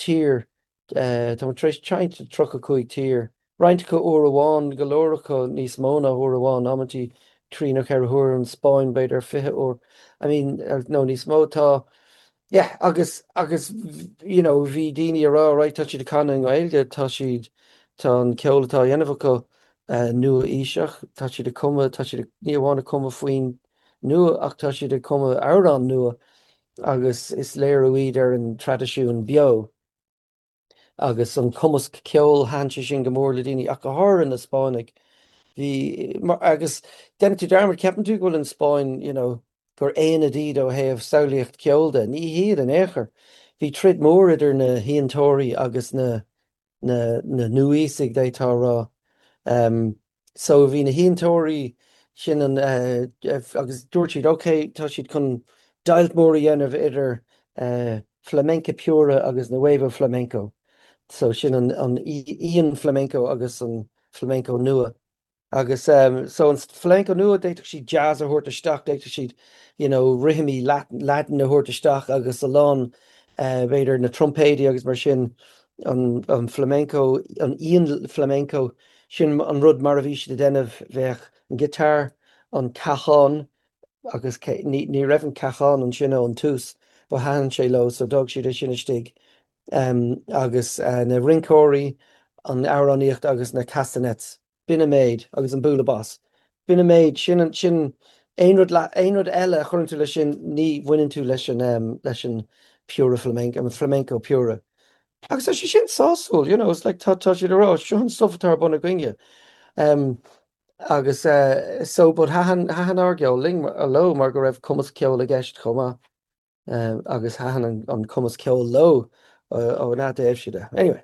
tír, tá muid tar éis seinnt i 35 tír, roinnt acu uair amháin, go leor acu níos mó ná uair amháin, amantaí trí nó ceithre huair, an Spáinn b'fhéidir 20 uair, I mean, nó níos mó, tá, yeah, agus, agus, you know, bhí daoine ag rá, right, tá siad ag canadh i nGaeilge, tá siad, tá an ceol atá á dhéanamh acu nua-aoiseach, tá siad ag cumadh, tá siad, ní amháin ag cumadh foinn nua ach tá siad ag cumadh amhráin nua agus is léiriú iad ar an traidisiún beo agus an cumasc ceoil, thaitin sé sin go mór le daoine ach go háirithe na Spáinnigh. Bhí, agus déanann tú dearmad, ceapann tú go bhfuil an Spáinn, you know, gur aonad iad ó thaobh samhlaíocht ceoil de. Ní hiad in aon chor. Bhí troid mór idir na hAontóirí agus na na nua-aoisigh, d'fhéadfá a rá. So bhí na hAontóirí sin an agus dúirt siad ok tá siad chun deighilt mór a dhéanamh idir flamenca pura agus nuevo flamenco. So sin an an íon-flamenco agus an flamenco nua. Agus so an flamenco nua, d'fhéadfadh siad jazz a thabhairt isteach, d'fhéadfadh siad you know rithimí Laidin a thabhairt isteach agus a lán b'fhéidir na trumpéidí agus mar sin, an an flamenco, an íon-flamenco, sin an rud mar a bhí siad ag déanamh, bheadh an guitar, an cajón agus ní ní raibh an cajón ansin ón tús but thaitin sé leo so d'fhág siad é sin istigh. Agus na rinceoirí, an amhránaíocht agus na castanets. B'in an méid, agus an bualadh bos. B'in an méid, sin an, sin, aon rud, aon rud eile a chuireann tú leis sin, ní bhaineann tú leis an, leis an pura flamenco, an flamenco pura. Agus tá sé sin sásúil, you know, it's like tá, tá siad ag rá, seo an stuff atá ar bun againne. Um, agus uh, so, but thaitin, thaitin ár gceol linn, leo mar go raibh cumasc ceoil i gceist chomh maith. Um, agus thaitin an, an cumasc ceoil leo ó na dtaobh siad. Anyway.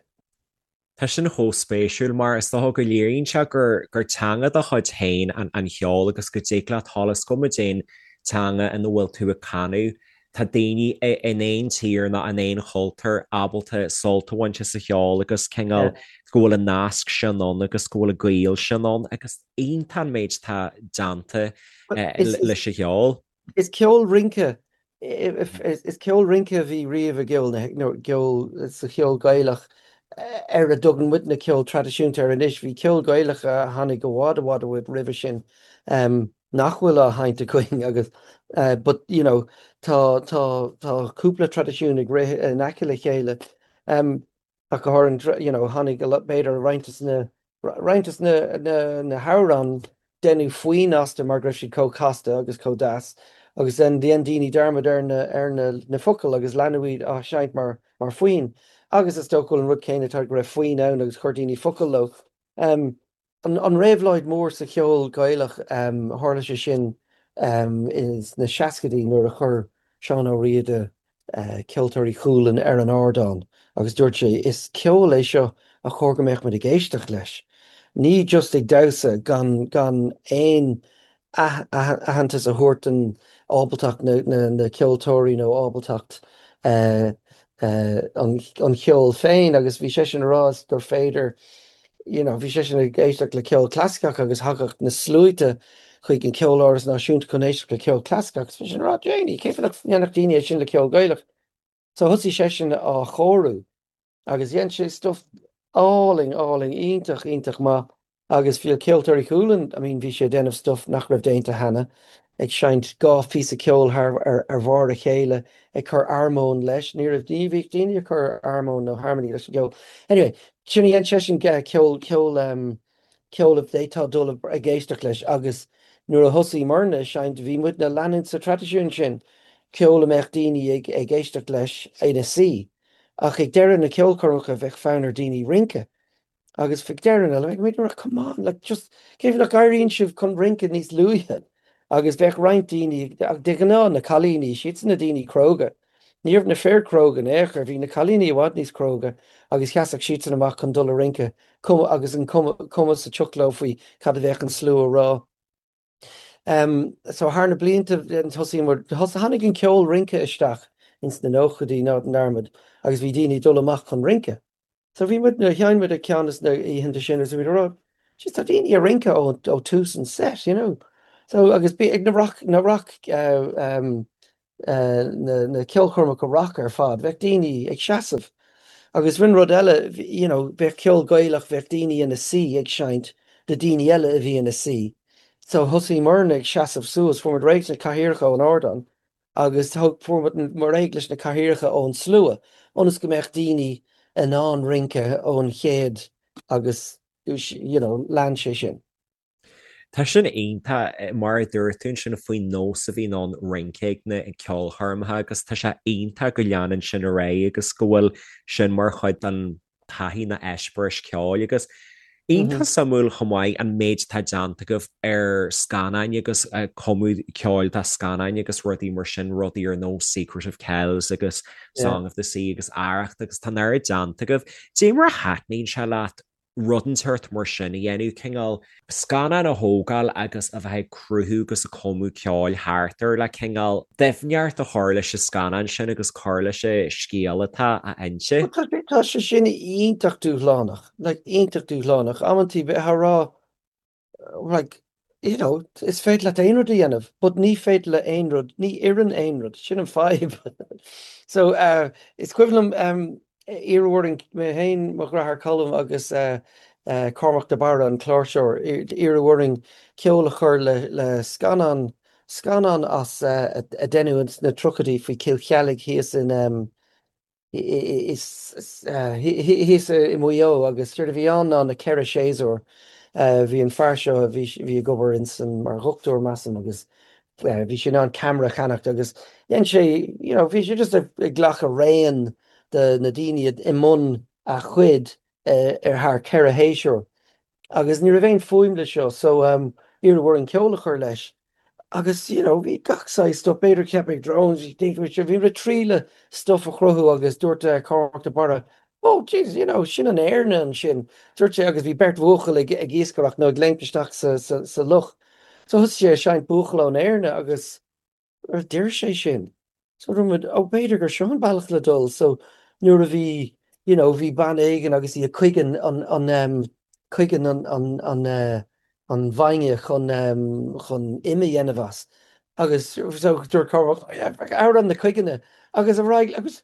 Tá sin chomh spéisiúil mar is dócha go léiríonn sé gur gur teanga dá chuid féin an an cheol agus go dtig leat dul is cuma cén teanga ina bhfuil tú ag canadh, tá daoine in aon tír nó in aon chultúr ábalta sult a bhaint as an cheol agus cineál go bhfuil an nasc sin ann agus go bhfuil an gaol sin ann agus iontach an méid atá déanta leis an cheol. Is ceol rince, is ceol rince a bhí riamh i gceol na, nó gceol, sa cheol Gaelach ar a dtugann muidne ceol traidisiúnta air anois. Bhí ceol Gaelach a tháinig i bhfad i bhfad i bhfad roimhe sin nach bhfuil á sheinnt againn agus but you know tá tá tá cúpla traidisiún ag rith in aice le chéile. Ach go háirithe, you know, tháinig b'fhéidir roinnt de na, roinnt de na, na, na hamhráin, deineadh foinn astu mar go raibh siad chomh casta agus chomh deas agus then dhein daoine dearmad ar na, ar na, na focail agus leanadh iad á seinnt mar, mar foinn. Agus is dócha go bhfuil an rud céanna tar go raibh foinn ann agus chuir daoine focail leo. Um, An réabhlóid mhór sa cheol Gaelach, tharla sé sin sna seascaidí nuair a chuir Seán Ó Riada Ceoltóirí Chualann ar an ardán agus dúirt sé, 'Is ceol é seo a chóir go mbeadh muid ag éisteacht leis, ní just ag damhsa gan gan aon aitheantas a thabhairt don ábaltacht na ceoltóirí nó ábaltacht an cheoil féin agus bhí seisean ag rá gur féidir you know bhí seisean ag éisteacht le ceol clasaiceach agus thagadh na sluaite chuig an Ceoláras Náisiúnta chun éisteacht le ceol clasaiceach agus bhí seisean ag rá Janie cén fáth nach ndéanfadh daoine é sin le ceol Gaelach? So thosaigh seisean á chóiriú Agus dhein sé stuff álainn, álainn, iontach, iontach maith. Agus bhí Ceoltóirí Chualann, I mean bhí sé ag déanamh stuff nach raibh déanta cheana, ag seinnt 2 phíosa ceoil thar, ar, ar bharr a chéile, ag cur armóin leis, ní raibh, ní bhíodh daoine ag cur armóin nó harmony leis an gceol. Anyway, sin a dhein seisean, ceol, ceol, em, ceol a d'fhéadfá dul ag éisteacht leis agus nuair a thosaigh muidne ag seinnt bhí muidne ag leanúint sa traidisiún sin, ceol a mbeadh daoine ag, ag éisteacht leis ina suí. Ach ag deireadh na ceolchoirmeacha bheadh fonn ar daoine rince agus ag deireadh na like muid come on like just cén fáth nach éiríonn sibh chun rince níos luaithe agus bheadh roinnt daoine de ghnáth na cailíní siadsan na daoine cróga ní raibh na fir cróga in aon chor bhí na cailíní i bhfad níos cróga agus sheasfadh siadsan amach chun dul a rince cuma agus an cuma cuma sa tsioc leo faoi cad a bheadh an slua a rá. So thar na blianta thosaigh muid, tháinig an ceol rince isteach ins na nóchaidí ná déan dearmad agus bhí daoine ag dul amach chun rince. So bhí muid, sheinn muid ag ceann des na oícheanta sin agus bhí muid ag rá, jeez tá daoine ag rince ó ó tús an set, you know. So agus bí ag na rock, na rock. Na ceolchoirmeacha rock ar fad, bheadh daoine ag seasamh. Agus rinne rud eile, you know, bheadh ceol Gaelach, bheadh daoine ina suí ag seinnt do daoine eile a bhí ina suí. So thosaíomarna ag seasamh suas, fuair muid réidh leis na cathaoireacha ón ardán agus thug, fuair muid réidh leis na cathaoireacha ón slua ionas go mbeadh daoine in ann rince ón chéad agus, you know, lean sé sin. Tá sin iontach, mar a dúirt tú ansin faoin nós a bhíonn ann rince ag na ceolchoirmeacha agus tá sé iontach go leanann sin ar aghaidh agus go bhfuil sin mar chuid den taithí nó eispéireas ceoil agus iontach suimiúil chomh maith an méid atá déanta agaibh ar scannáin agus cumadh ceoil do scannáin agus rudaí mar sin, rudaí ar nós Secret of Kells agus Song of the Sea agus Arracht agus tá an oiread déanta agaibh. Dé mar a thaitníonn sé leat rud inteacht mar sin a dhéanamh, cineál scannán a thógáil agus a bheith ag cruthú agus ag cumadh ceoil thart air le cineál doimhneacht a chur leis an scannán sin agus cur leis an scéal atá á inse. Tá sé, tá sé sin iontach dúshlánach, like iontach dúshlánach. Amantaí bheifeá ag rá like, you know, is féidir leat aon rud a dhéanamh, but ní féidir le aon rud, ní oireann aon rud, sin an fadhb. So, uh, is cuimhin liom um, iarradh orainn, mé féin, mo dheartháir Colm agus uh, uh, Cormac de Barra, an cláirseoir, iarradh orainn ceol a chur le, le scannán, scannán as uh, a deineadh sna tríochaidí faoi Cill Cheallaigh thíos in um, thíos i Maigh Eo agus séard a bhí ann ná na ceithre séasúr. Bhí an fear seo, bhí bhí ag obair insan mar dhochtúir measaim agus bhí sé in ann ceamara a cheannacht agus dhein sé, you know, bhí sé just ag glacadh raon de na daoine i mbun a chuid ar thar ceithre shéasúr. Agus ní raibh aon fuaim le seo so iarradh orainn ceol a chur leis. Agus you know bhí gach saghas stuff, b'fhéidir cheap mé drones, bhí muid ag triail stuff a chruthú agus dúirt Cormac de Barra, oh Jesus, you know, sin an Éirne ansin. Dúirt sé agus bhí beirt bhuachaill ag ag iascaireacht nó ag léimt isteach sa sa sa loch. So thosaigh sé ag seinnt buachaill ón Éirne agus D'oir sé sin. So dúirt muid, oh b'fhéidir gur seo an bealach le dul. So nuair a bhí, you know, bhí bean éigin agus í ag cuigeann an, an em, cuigeann an, an, an eh, an bhainne chun em, chun im a dhéanamh as. Agus so dúirt Cormac, oh yeah, amhrán na cuiginne. Agus ar aghaidh, agus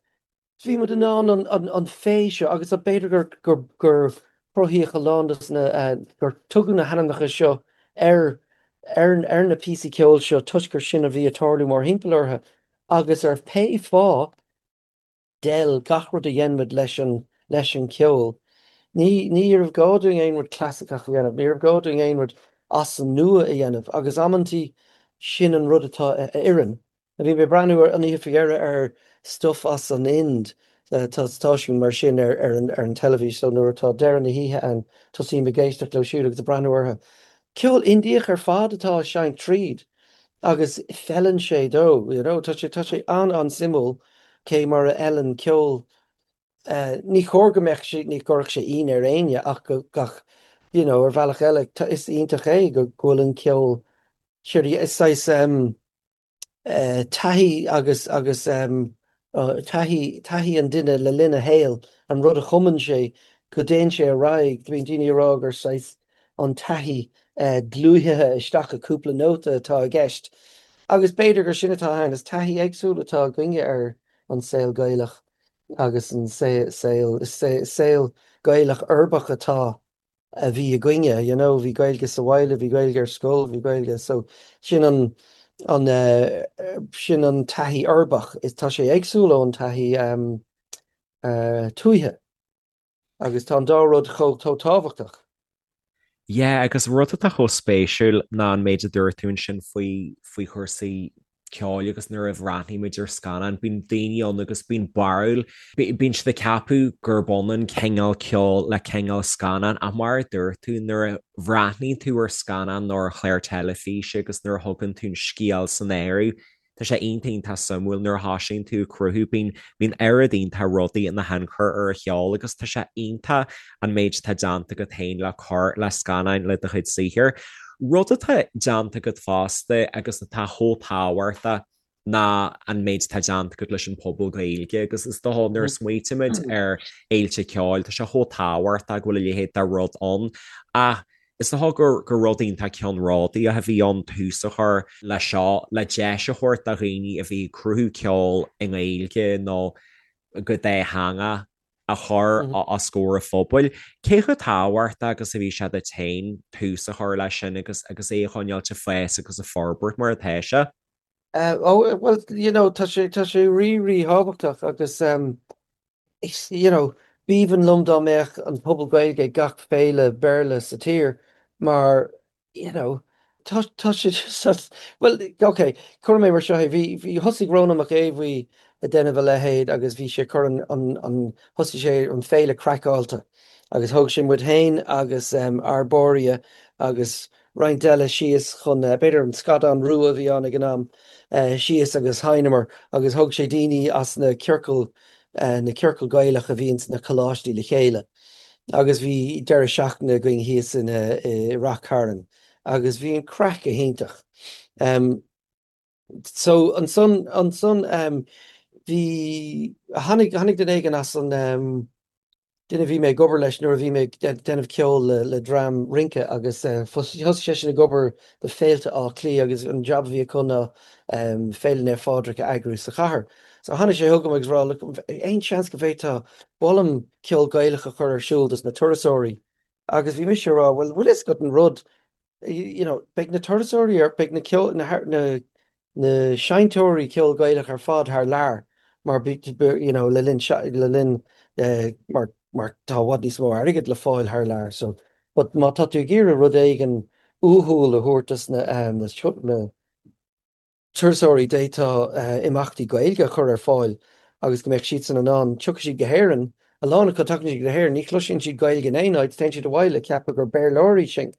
Bhí muid in ann an féith seo, agus b'fhéidir gur gur cruthaíodh a lán de na, gur tugadh na hainmneacha seo ar ar na píosaí ceoil seo toisc gur sin a bhí ag tarlú mórthimpeall orthu agus ar pé fáth d'fheil gach rud a dhein muid leis an leis an cheol. Ní ní raibh gá dúinn aon rud clasaiceach a dhéanamh, ní raibh gá dúinn aon rud as an nua a dhéanamh agus amantaí sin an rud atá a oireann. Bhí mé ag breathnú an oíche faoi dheireadh ar stuff as an Ind, tá stáisiún mar sin ar ar an ar an teilifís so nuair atá deireadh na hoíche ann tosaím ag éisteacht leo siúd agus ag breathnú orthu. Ceol Indiach ar fad atá á seinnt tríd agus feileann sé dó, you know, tá sé tá sé an-an-suimiúil cé mar a fheileann ceol ní chóir go mbeadh sé, ní gcuirfeadh sé ionadh ar éinne ach go gach, you know, ar bhealach eile is iontach é go bhfuil an ceol, is saghas taithí agus agus taithí taithí an duine le linn a shaoil, an rud a chumann sé, go dtéann sé ar aghaidh. Bíonn daoine ag rá gur saghas an taithí dlúithe isteach i cúpla nóta atá i gceist. Agus b'fhéidir gur sin atá ann, is taithí éagsúil atá againne ar an saol Gaelach agus an saol saol Gaelach uirbeach atá a bhí againne, you know, bhí Gaeilge sa bhaile, bhí Gaeilge ar scoil, bhí Gaeilge, so sin an, an, sin an taithí uirbeach, is tá sé éagsúil ón taithí tuaithe agus tá an dá rud chomh, chomh tábhachtach. Yeah, agus rud atá chomh spéisiúil ná an méid a dúirt tú ansin faoi, faoi chúrsaí ceoil agus nuair a bhreathnaímid ar scannán, bíonn daoine ann agus bíonn barúil, bíonn siad ag ceapadh gurb ionann cineál ceoil le cineál scannán ach mar a dúirt tú, nuair a bhreathnaíonn tú ar scannán nó ar chlár teilifíse agus nuair a thugann tú an scéal san áireamh, tá sé iontach iontach suimiúil nuair a thosaíonn tú ag cruthú, bíonn bíonn oiread iontach rudaí ina thionchar ar an cheol agus tá sé iontach an méid atá déanta agat féin le cur le scannáin le do chuid saothair. Rud atá déanta agat fosta agus atá chomh tábhachtach ná an méid atá déanta agat leis an phuball Gaeilge agus is dócha nuair a smaoitímid ar fhéilte ceoil tá sé chomh tábhachtach go bhfuil a leithéid de rud ann ach. Is dócha gur gur rud iontach ceannródaíoch a bhí ann tús a chur le seo, le deis a thabhairt do dhaoine a bhí ag cruthú ceoil i nGaeilge nó go dátheangach a chur os comhair an phobail. Cé chomh tábhachtach agus a bhí sé duit féin tús a chur leis sin agus agus é a choinneáilt ag fás agus ag forbairt mar atá sé? Ó, bhuel, you know, tá sé, tá sé rí, ríthábhachtach agus is, you know, b'aoibhinn liom dá mbeadh an Puball Gaeilge ag gach féile Béarla sa tír mar, you know, tá, tá sé just, bhuel, ok, cuirfidh mé mar seo é, bhí, bhí, thosaigh Rónán Mac Aodha Bhuí ag déanamh a leithéid agus bhí sé ag cur an, an, an, thosaigh sé an Féile Craiceáilte agus thóg sé muid féin agus Arborea agus roinnt eile síos chun, b'fhéidir an Scadán Rua a bhí ann ag an am, síos agus sheinneamar agus thóg sé daoine as na ciorcail, na ciorcail Gaelach a bhíonn sna coláistí le chéile agus bhí deireadh seachtaine againn thíos in, i Rath Cairn agus bhí an craic go hiontach. So ansan, ansan bhí, tháinig, tháinig duine éigin as an, duine a bhí mé ag obair leis nuair a bhí mé ag déanamh ceoil le, le dream rince agus thosaigh seisean ag obair do Féilte Átha Cliath agus an jab a bhí acu ná Féile Naomh Phádraig a eagrú sa chathair. So tháinig sé chugam agus rá, look, aon seans go bhféadfá, ba mhaith liom ceol Gaelach a chur ar siúl dos na turasóirí agus bhí mise ag rá, bhuel, bhfuil fhios agat an rud, you know, beidh na turasóirí ar, beidh na ceol, na, na, na seinnteoirí ceol Gaelach ar fad thar lear mar you know, le linn, le linn, mar, mar tá i bhfad níos mó airgid le fáil thar lear so, but má tá tú ag iarraidh rud éigin uathúil a thabhairt dos na, na, na, turasóirí, d'fhéadfá imeachtaí Gaeilge a chur ar fáil agus go mbeadh siadsan in ann, tiocfaidh siad go hÉirinn, a lán acu, tagann siad go hÉirinn, ní chloiseann siad Gaeilge in aon áit, téann siad abhaile ag ceapadh gur Béarlóirí sinn.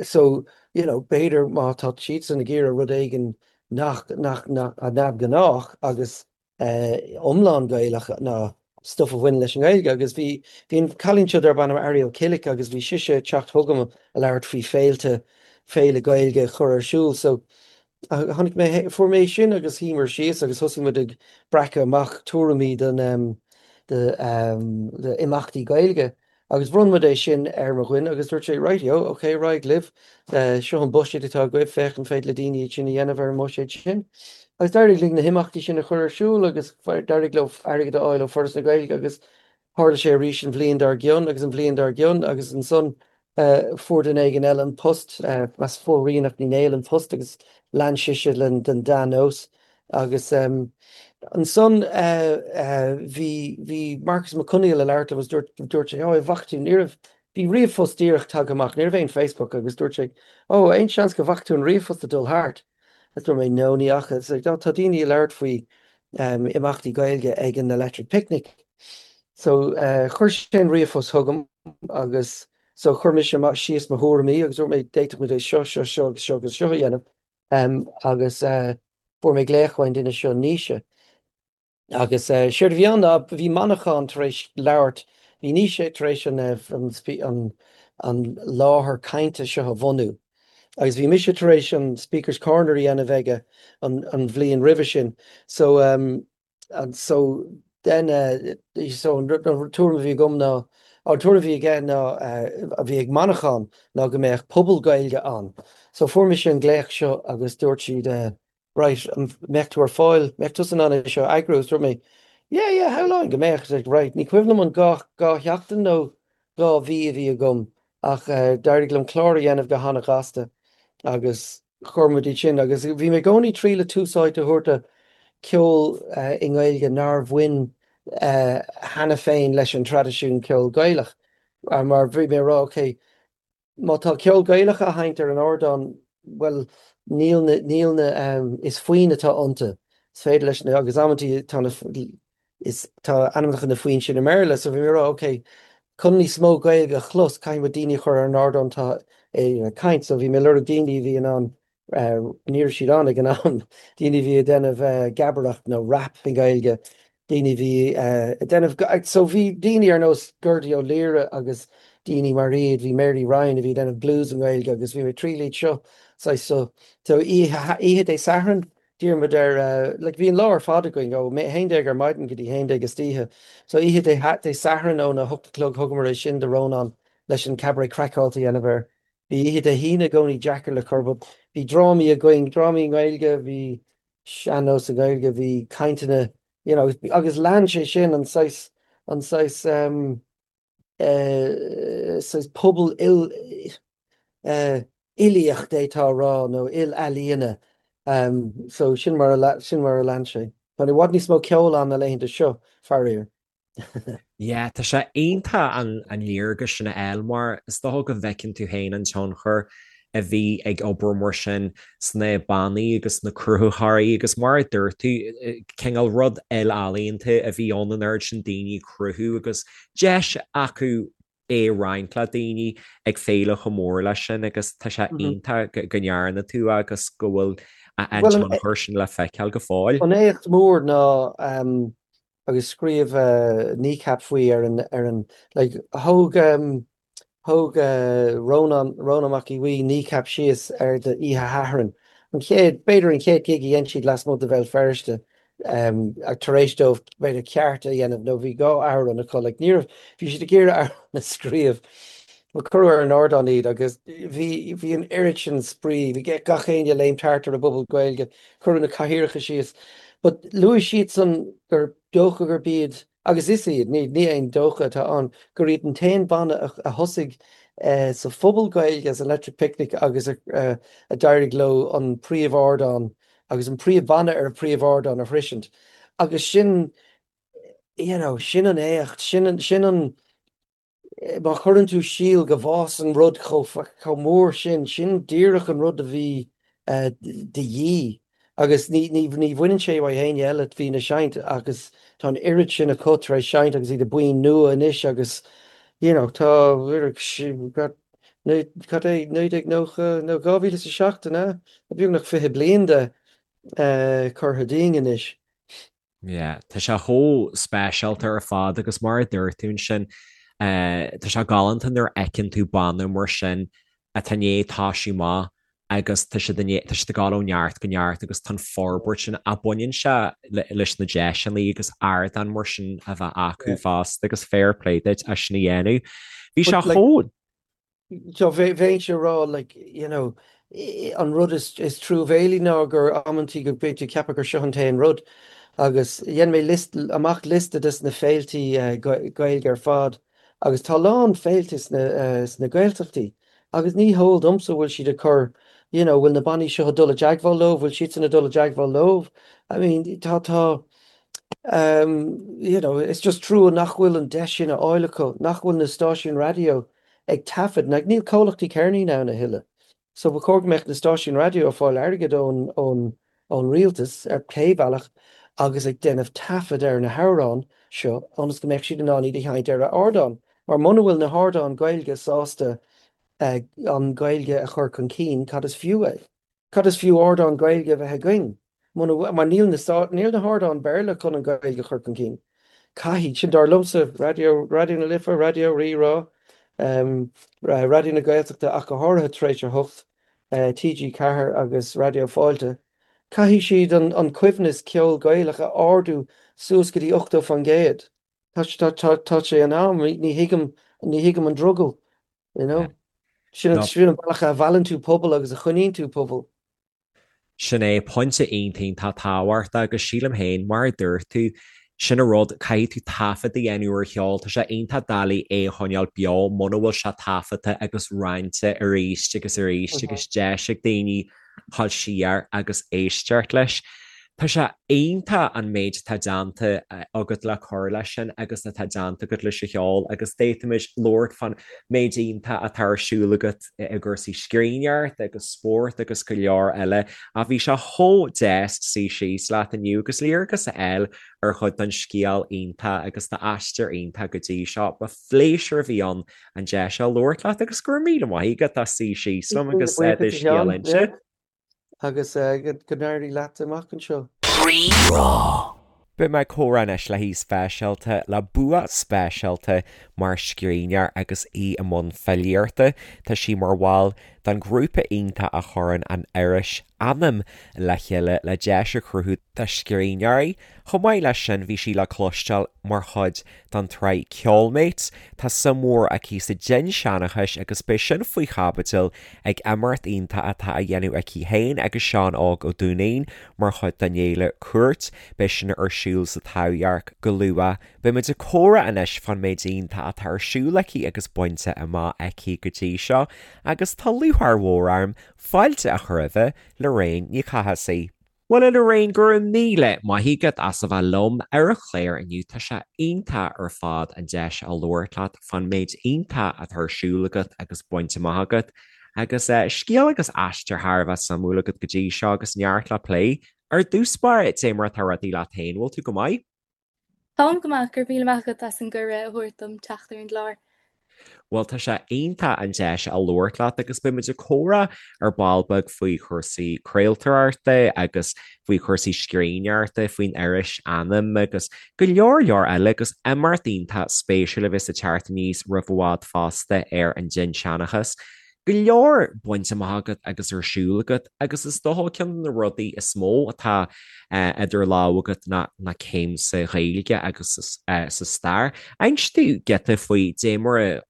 So, you know, b'fhéidir má tá siadsan ag iarraidh rud éigin nach, nach, nach, neamhghnách agus iomlán Gaelach ná stuff a bhaineann leis an nGaeilge agus bhí bhí an cailín seo darb ainm Ariel Killick agus bhí sise ag teacht chugam ag labhairt faoi féilte, féile Gaeilge a chur ar siúl so tháinig mé, fuair mé sin agus shuíomar síos agus thosaigh muid ag breacadh amach tuairimí don do d'imeachtaí Gaeilge. Agus bhronn muid é sin ar mo dhuine agus dúirt sé, Rightio, ok, ar aghaidh libh, seo an buiséad atá agaibh, féach an féidir le daoine iad sin a dhéanamh ar an mbuiséad sin. Agus d'éirigh linn na himeachtaí sin a chur ar siúl agus d'éirigh leo airgead a fháil ó Foras na Gaeilge agus tharla sé arís an bhliain dár gcionn agus an bhliain dár gcionn agus ansan fuair duine éigin eile an post, meas fuair Ríonach Ní Néill an post agus lean sise den dea-nós. Agus ansan bhí, bhí Marcus Mac Conghail ag labhairt liom agus dúirt, dúirt sé, ó, an bhfaca tú, ní raibh, bhí ríomhphost díreach tagtha amach, ní raibh aon Facebook agus dúirt sé, ó, aon seans go bhfaca tú an ríomhphost ag dul thart? Agus dúirt mé, no, ní fhaca. It's like, oh, tá daoine ag labhairt faoi imeachtaí Gaeilge ag an Electric Picnic. So chuir sé an ríomhphost chugam agus so chuir mise síos mo thuairimí agus dúirt mé, d'fhéadfadh muid é seo, seo, seo agus seo agus seo a dhéanamh. Agus fuair mé glaoch ón duine seo, Naoise. Agus séard a bhí ann ná bhí Manchán tar éis labhairt, bhí Naoise tar éis an an an láthair cainte seo a bhunú. Agus bhí mise tar éis an Speaker's Corner a dhéanamh aige an an bhliain roimhe sin. So And so then so an tuairim a bhí agam ná, an tuairim a bhí aige ná, a bhí ag Manchán ná go mbeadh puball Gaeilge ann. So fuair mise an glaoch seo agus dúirt siad right, an mbeadh tú ar fáil, mbeadh tusa in ann é seo a eagrú? Agus dúirt mé yeah, yeah, shamhlóinn go mbeadh. Like right, ní cuimhin liom an 2 sheachtain nó 2 mhí a bhí agam ach d'éirigh liom clár a dhéanamh go hana-ghasta agus chuir muid iad sin agus bhí mé i gcónaí ag triail tús áite a thabhairt do cheol i nGaeilge nár bhain cheana féin leis an traidisiún ceol Gaelach mar bhí mé ag rá ok má tá ceol Gaelach á sheinnt ar an ardán bhuel níl na níl na is foinn atá iontu is féidir leis na agus amantaí tá na is tá ainmneacha na foinn sin i mBéarla so bhí mé ag rá ok chun níos mó Gaeilge a chlos caithfidh muid daoine a chur ar an ardán atá ag caint so bhí mé ag lorg daoine a bhí in ann ní raibh siad ann ag an am daoine a bhí ag déanamh gabaireacht nó rap i nGaeilge daoine a bhí ag déanamh so bhí daoine ar nós Gerdy Ó Laoire agus daoine mar iad bhí Mary Ryan a bhí ag déanamh blues i nGaeilge agus bhí mé ag triail iad seo saghas so so oíche Dé Sathairn D'iarr muid ar, like, bhí an lá ar fad againn, ó 11 ar maidin go dtí 11 istoíche. So oíche Dé Sathairn óna 8 a chlog thugamar é sin do Rónán. leis an Cabaret Craiceáilte a dhéanamh air. Bhí oíche Dé hAoine i gcónaí deacair le cur but bhí drámaí againn, drámaí i nGaeilge, bhí sean-nós i nGaeilge, bhí cainteanna, you know, agus lean sé sin an saghas, an saghas ehm eh saghas pobal il eh uilíoch d'fhéadfá a rá nó il-ealaíona ehm so sin mar a sin mar a lean sé. Tá i bhfad níos mó ceoil ann na laethanta seo, faraor. Yeah, tá sé iontach an léargas sin a fháil mar is dócha go bhfeiceann tú féin an tionchar a bhí ag obair mar sin sna bannaí agus sna cruthaitheoirí agus mar a dúirt tú, cineál rud il-ealaíonta a bhí ann an oiread sin daoine ag cruthú agus deis acu é a roinnt le daoine ag féile chomh mór leis sin agus tá sé iontach go ndearna tú agus go bhfuil an tionchar sin le feiceáil go fóill. An éacht mór ná agus scríobh Kneecap faoi ar an, ar an, like, thóg, thóg Rónán, Rónán Mac Aodha Bhuí Kneecap síos ar do oíche Shathairn, an chéad, b'fhéidir an chéad gig a dhein siad lasmuigh de Bhéal Feirste, tar éis dóibh b'fhéidir ceart a dhéanamh nó bhí 2 amhrán acu, like, ní raibh, bhí siad ag iarraidh amhrán a scríobh. Cuireadh ar an ardán iad agus bhí, bhí an oiread sin spraoi, bhí gach éinne ag léimt thart ar an bpuball Gaeilge. Cuireadh na cathaoireacha síos. But luaigh siadsan gur dócha gurb iad, agus is iad, ní ní aon dócha atá ann, gur iad an t-aon bhanna a thosaigh sa phuball Gaeilge as Electric Picnic agus a d'éirigh leo an príomh-ardán agus an príomh-bhanna ar an phríomh-ardán a shroisint. Agus sin, you know, sin an éacht, sin sin an, Má chuireann tú síol go bhfásann rud chomh mór sin, sin díreach an rud a bhí de dhíth. Agus ní bhaineann sé uaidh éinne eile a bhí ina seinnt agus tá an oiread sin acu tar éis seinnt agus iad i buíon nua anois agus you know tá cad é 1990 nó 2007 an ea? Tá beagnach 20 bliain de curtha dínn anois. Yeah, tá sé chomh speisialta ar fad agus mar a dúirt tú ansin, tá sé galánta nuair a fheiceann tú banna mar sin atá i ndiaidh toisiú amach agus tá siad i ndiaidh, tá siad ag dul ó neart go neart agus tá an forbairt sin a baineann sé leis na deiseanna agus ardáin mar sin a bheith acu fosta agus fair play duit as sin a dhéanamh. Bhí sé chomh. So bheinnse ag rá like you know an rud is is truamhéalaí ná gur amantaí go mbeidh tú ag ceapadh gur seo an t-aon rud agus dhein mé list amach liosta des na féiltí Gaeilge ar fad agus tá a lán féilte sna sna Gaeltachtaí agus ní heol domsa bhfuil siad ag cur you know bhfuil na bannaí seo ag dul i dteagmháil leo, bhfuil siadsan ag dul i dteagmháil leo I mean tá tá um you know it's just trua nach bhfuil an deis sin á fháil acu, nach bhfuil na stáisiúin raidió ag taifead, like níl comhlachtaí ceirnín ann a thuilleadh. So ba chóir go mbeadh na stáisiúin raidió ag fáil airgead ón ón ón rialtas ar pé bealach agus ag déanamh taifead ar na hamhráin seo ionas go mbeadh siad in ann iad a sheinnt ar a ardán. Mar muna bhfuil na hardáin Gaeilge sásta an Ghaeilge a chur chun cinn, cad is fiú é? Cad is fiú ardán Gaeilge a bheith againn muna bhfuil, mar níl na, níl na hardáin Béarla chun an Ghaeilge a chur chun cinn. Caithfidh, sin dar liomsa, Raidió, Raidió na Life, Raidió Rí-Rá, Raidió na Gaeltachta ach go háirithe tar éis a hocht, TG4 agus Raidió Fáilte, caithfidh siad an, an coibhneas ceol Gaelach a ardú suas go dtí 80%. Tá, tá, tá sé in am, ní thuigim, ní thuigim an drogall. You know? Sin an sin an bealach a mheallann tú pobal agus a choinníonn tú pobal. Sin é, pointe iontach tábhachtach agus sílim féin, mar a dúirt tú, sin an rud, caithfidh tú taifead a dhéanamh ar cheol, tá sé iontach doiligh é a choinneáil beo muna bhfuil sé taifeadta agus roinnte arís agus arís agus deis ag daoine dhul siar agus éisteacht leis. Tá sé iontach an méid atá déanta agat le cur leis sin agus atá déanta agat leis an cheol agus d'fhéadfaimis labhairt fán méid iontach atá ar siúl agat i gcúrsaí scríbhneoireachta agus spórt agus go leor eile ach bhí sé chomh deas suí síos leat inniu agus léargas a fháil ar chuid den scéal iontach agus d'aistear iontach go dtí seo. Ba phléisiúr a bhí ann an deis seo labhairt leat agus go raibh míle maith agat as suí síos liom agus do scéal a inse. Agus go n-éirí leat amach anseo. Rí-Rá. Beidh mé ag comhrá anois le haoi speisialta, le bua speisialta mar scríbhneoir agus í i mbun filíochta. Tá sí mar bhall den ghrúpa iontach a chuireann an iris. Anam le chéile le deis a chruthú do scríbhneoirí. Chomh maith leis sin bhí sí le cloisteáil mar chuid den tsraith Ceolmates. Tá suim mhór aici sa dinnseanchas agus beidh sin faoi chaibidil ag imeacht iontach atá á dhéanamh aici féin agus Seán Óg Ó Duinnín mar chuid den fhéile Cúirt. Beidh sin ar siúl sa Taibhdhearc go luath. Beidh muid ag comhrá anois fán méid iontach atá ar siúl aici agus bainte amach aici go dtí seo agus tá lúcháir mhór orm fáilte a chur roimhe, Lorraine Ní Chathasaigh. Bhuel a Lorraine, go raibh míle maith agat as a bheith liom ar an chlár inniu. Tá sé iontach ar fad an deis a labhairt leat fán méid iontach atá ar siúl agat agus bainte amach agat agus scéal agus aistear thar a bheith suimiúil agat go dtí seo agus neart le plé. Ar dtús báire, dé mar atá rudaí leat féin, bhfuil tú go maith? Táim go maith, go raibh míle maith agat as an gcuireadh a thabhairt dom teacht ar an gclár. Bhuel, tá sé iontach an deis a labhairt leat agus beidh muid ag comhrá ar ball beag faoi chúrsaí craoltóireachta agus faoi chúrsaí scríbhneoireachta, faoin iris Anam agus go leor leor eile agus imeacht iontach spéisiúil a bheas ag teacht aníos roimh i bhfad fosta ar an dinnseanchas. go leor bainte amach agat agus ar siúl agat agus is dócha ceann de na rudaí is mó atá idir lámha agat ná ná céim sa Ghaeilge agus sa stair. Inis domh giota faoi dé mar a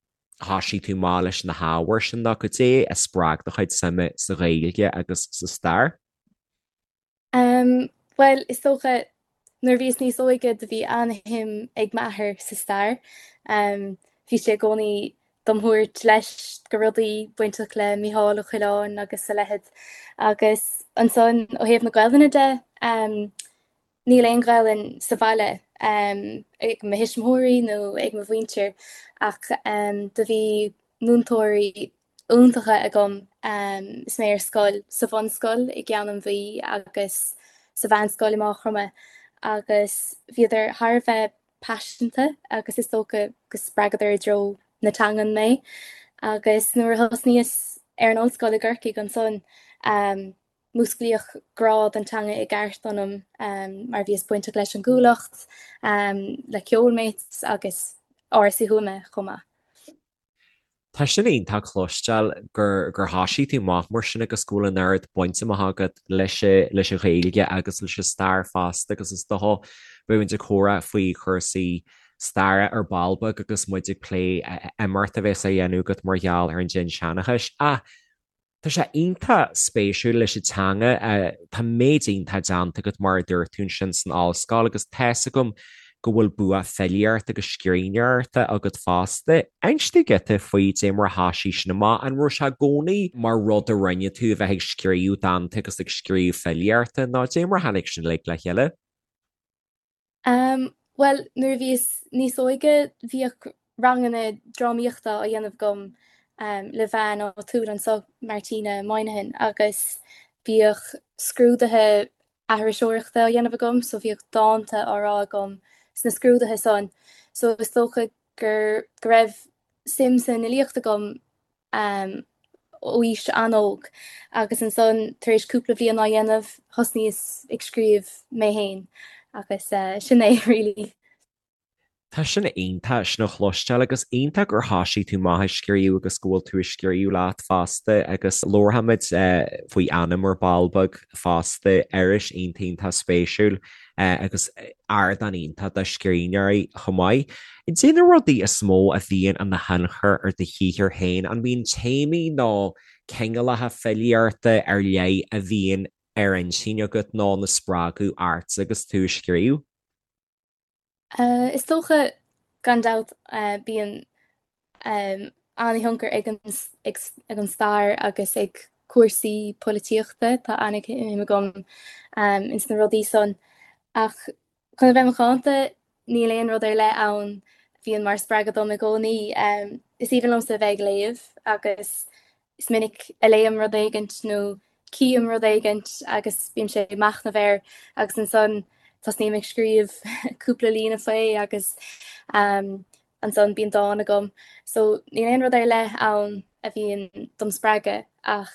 thosaigh tú amach leis na hábhair sin nó cad é a spreag do chuid suime sa Ghaeilge agus sa stair? Bhuel, is dócha, nuair a bhíos níos óige do bhí an-shuim ag m'athair sa stair. Bhí sé i gcónaí dom thabhairt leis go rudaí bainteach le Mícheál Ó Coileáin agus a leithéid. Agus ansan ó thaobh na Gaelainne de, níl aon Ghaelainn sa bhaile ag mo thuismitheoirí nó ag mo mhuintir ach do bhí múinteoirí iontacha agam is mé ar scoil, sa bhunscoil i gCeann an Mhí agus sa mheánscoil i Máigh Chromtha agus bhíodar thar a bheith paiseanta agus is dócha go spreagadar i dtreo na teangan mé. Agus nuair a thosnaíos ar an ollscoil i gCorcaigh ansan, músclaíodh grá don teanga i gceart ionam mar bhíos bainteach leis an gCuallacht, le Ceolmates agus Áras Uí Thuama chomh maith. Tá sin iontach cloisteáil gur gur thosaigh tú amach mar sin agus go bhfuil an oiread bainte amach agat leis leis an Ghaeilge agus leis an stair fosta agus is dócha beidh muid ag comhrá faoi chúrsaí staire ar ball beag agus muid ag plé imeacht a bheas á dhéanamh agat mar gheall ar an dinnseanchas. Ach Tá sé iontach spéisiúil leis an teanga. Tá méid iontach déanta agat mar a dúirt tú ansin san ollscoil agus tá's agam go bhfuil bua filíochta agus scríbhneoireachta agat fosta. Inis domh giota faoi dé mar a thosaigh sin amach. An raibh sé i gcónaí mar rud a rinne tú a bheith ag scríobh dánta agus ag scríobh filíochta nó dé mar a tháinig sin uilig le chéile? Bhuel, nuair a bhíos níos óige bhíodh ranganna drámaíochta á dhéanamh agam le bean áitiúil anseo, Martina Moynihan, agus bhíodh scrúduithe aithriseoireachta á dhéanamh agam so bhíodh dánta á rá agam sna scrúduithe san. So is dócha gur go raibh suim san fhilíocht agam ó aois an-óg agus ansan tar éis cúpla bliain á dhéanamh thosnaíos ag scríobh mé féin agus sin é really. Tá sin iontach sin a chloisteáil agus iontach gur thosaigh tú amach ag scríobh agus go bhfuil tú ag scríobh leat fosta agus labharfaimid faoi Anam ar ball beag fosta, iris iontach iontach spéisiúil. agus ardán iontach do scríbhneoirí chomh maith. Cad é na rudaí is mó a bhíonn ina thionchar ar do shaothar féin? An mbíonn téamaí nó cineálacha filíochta ar leith a bhíonn ar intinn agat nó ina spreagadh ort agus tú ag scríobh? Is dócha, gan dabht, bíonn an-thionchar ag ag an stair agus ag cúrsaí polaitíochta, tá an-shuim agam ins na rudaí san. Ach chun a bheith macánta, níl aon rud ar leith ann a bhíonn mar spreagadh dom i gcónaí. Is aoibhinn liomsa a bheith ag léamh agus is minic a léim rud éigint nó cím rud éigint agus bímse ag machnamh air agus ansan tosnaím ag scríobh cúpla líne faoi agus ansan bíonn dán agam. So níl aon rud ar leith ann a bhíonn dom spreagadh ach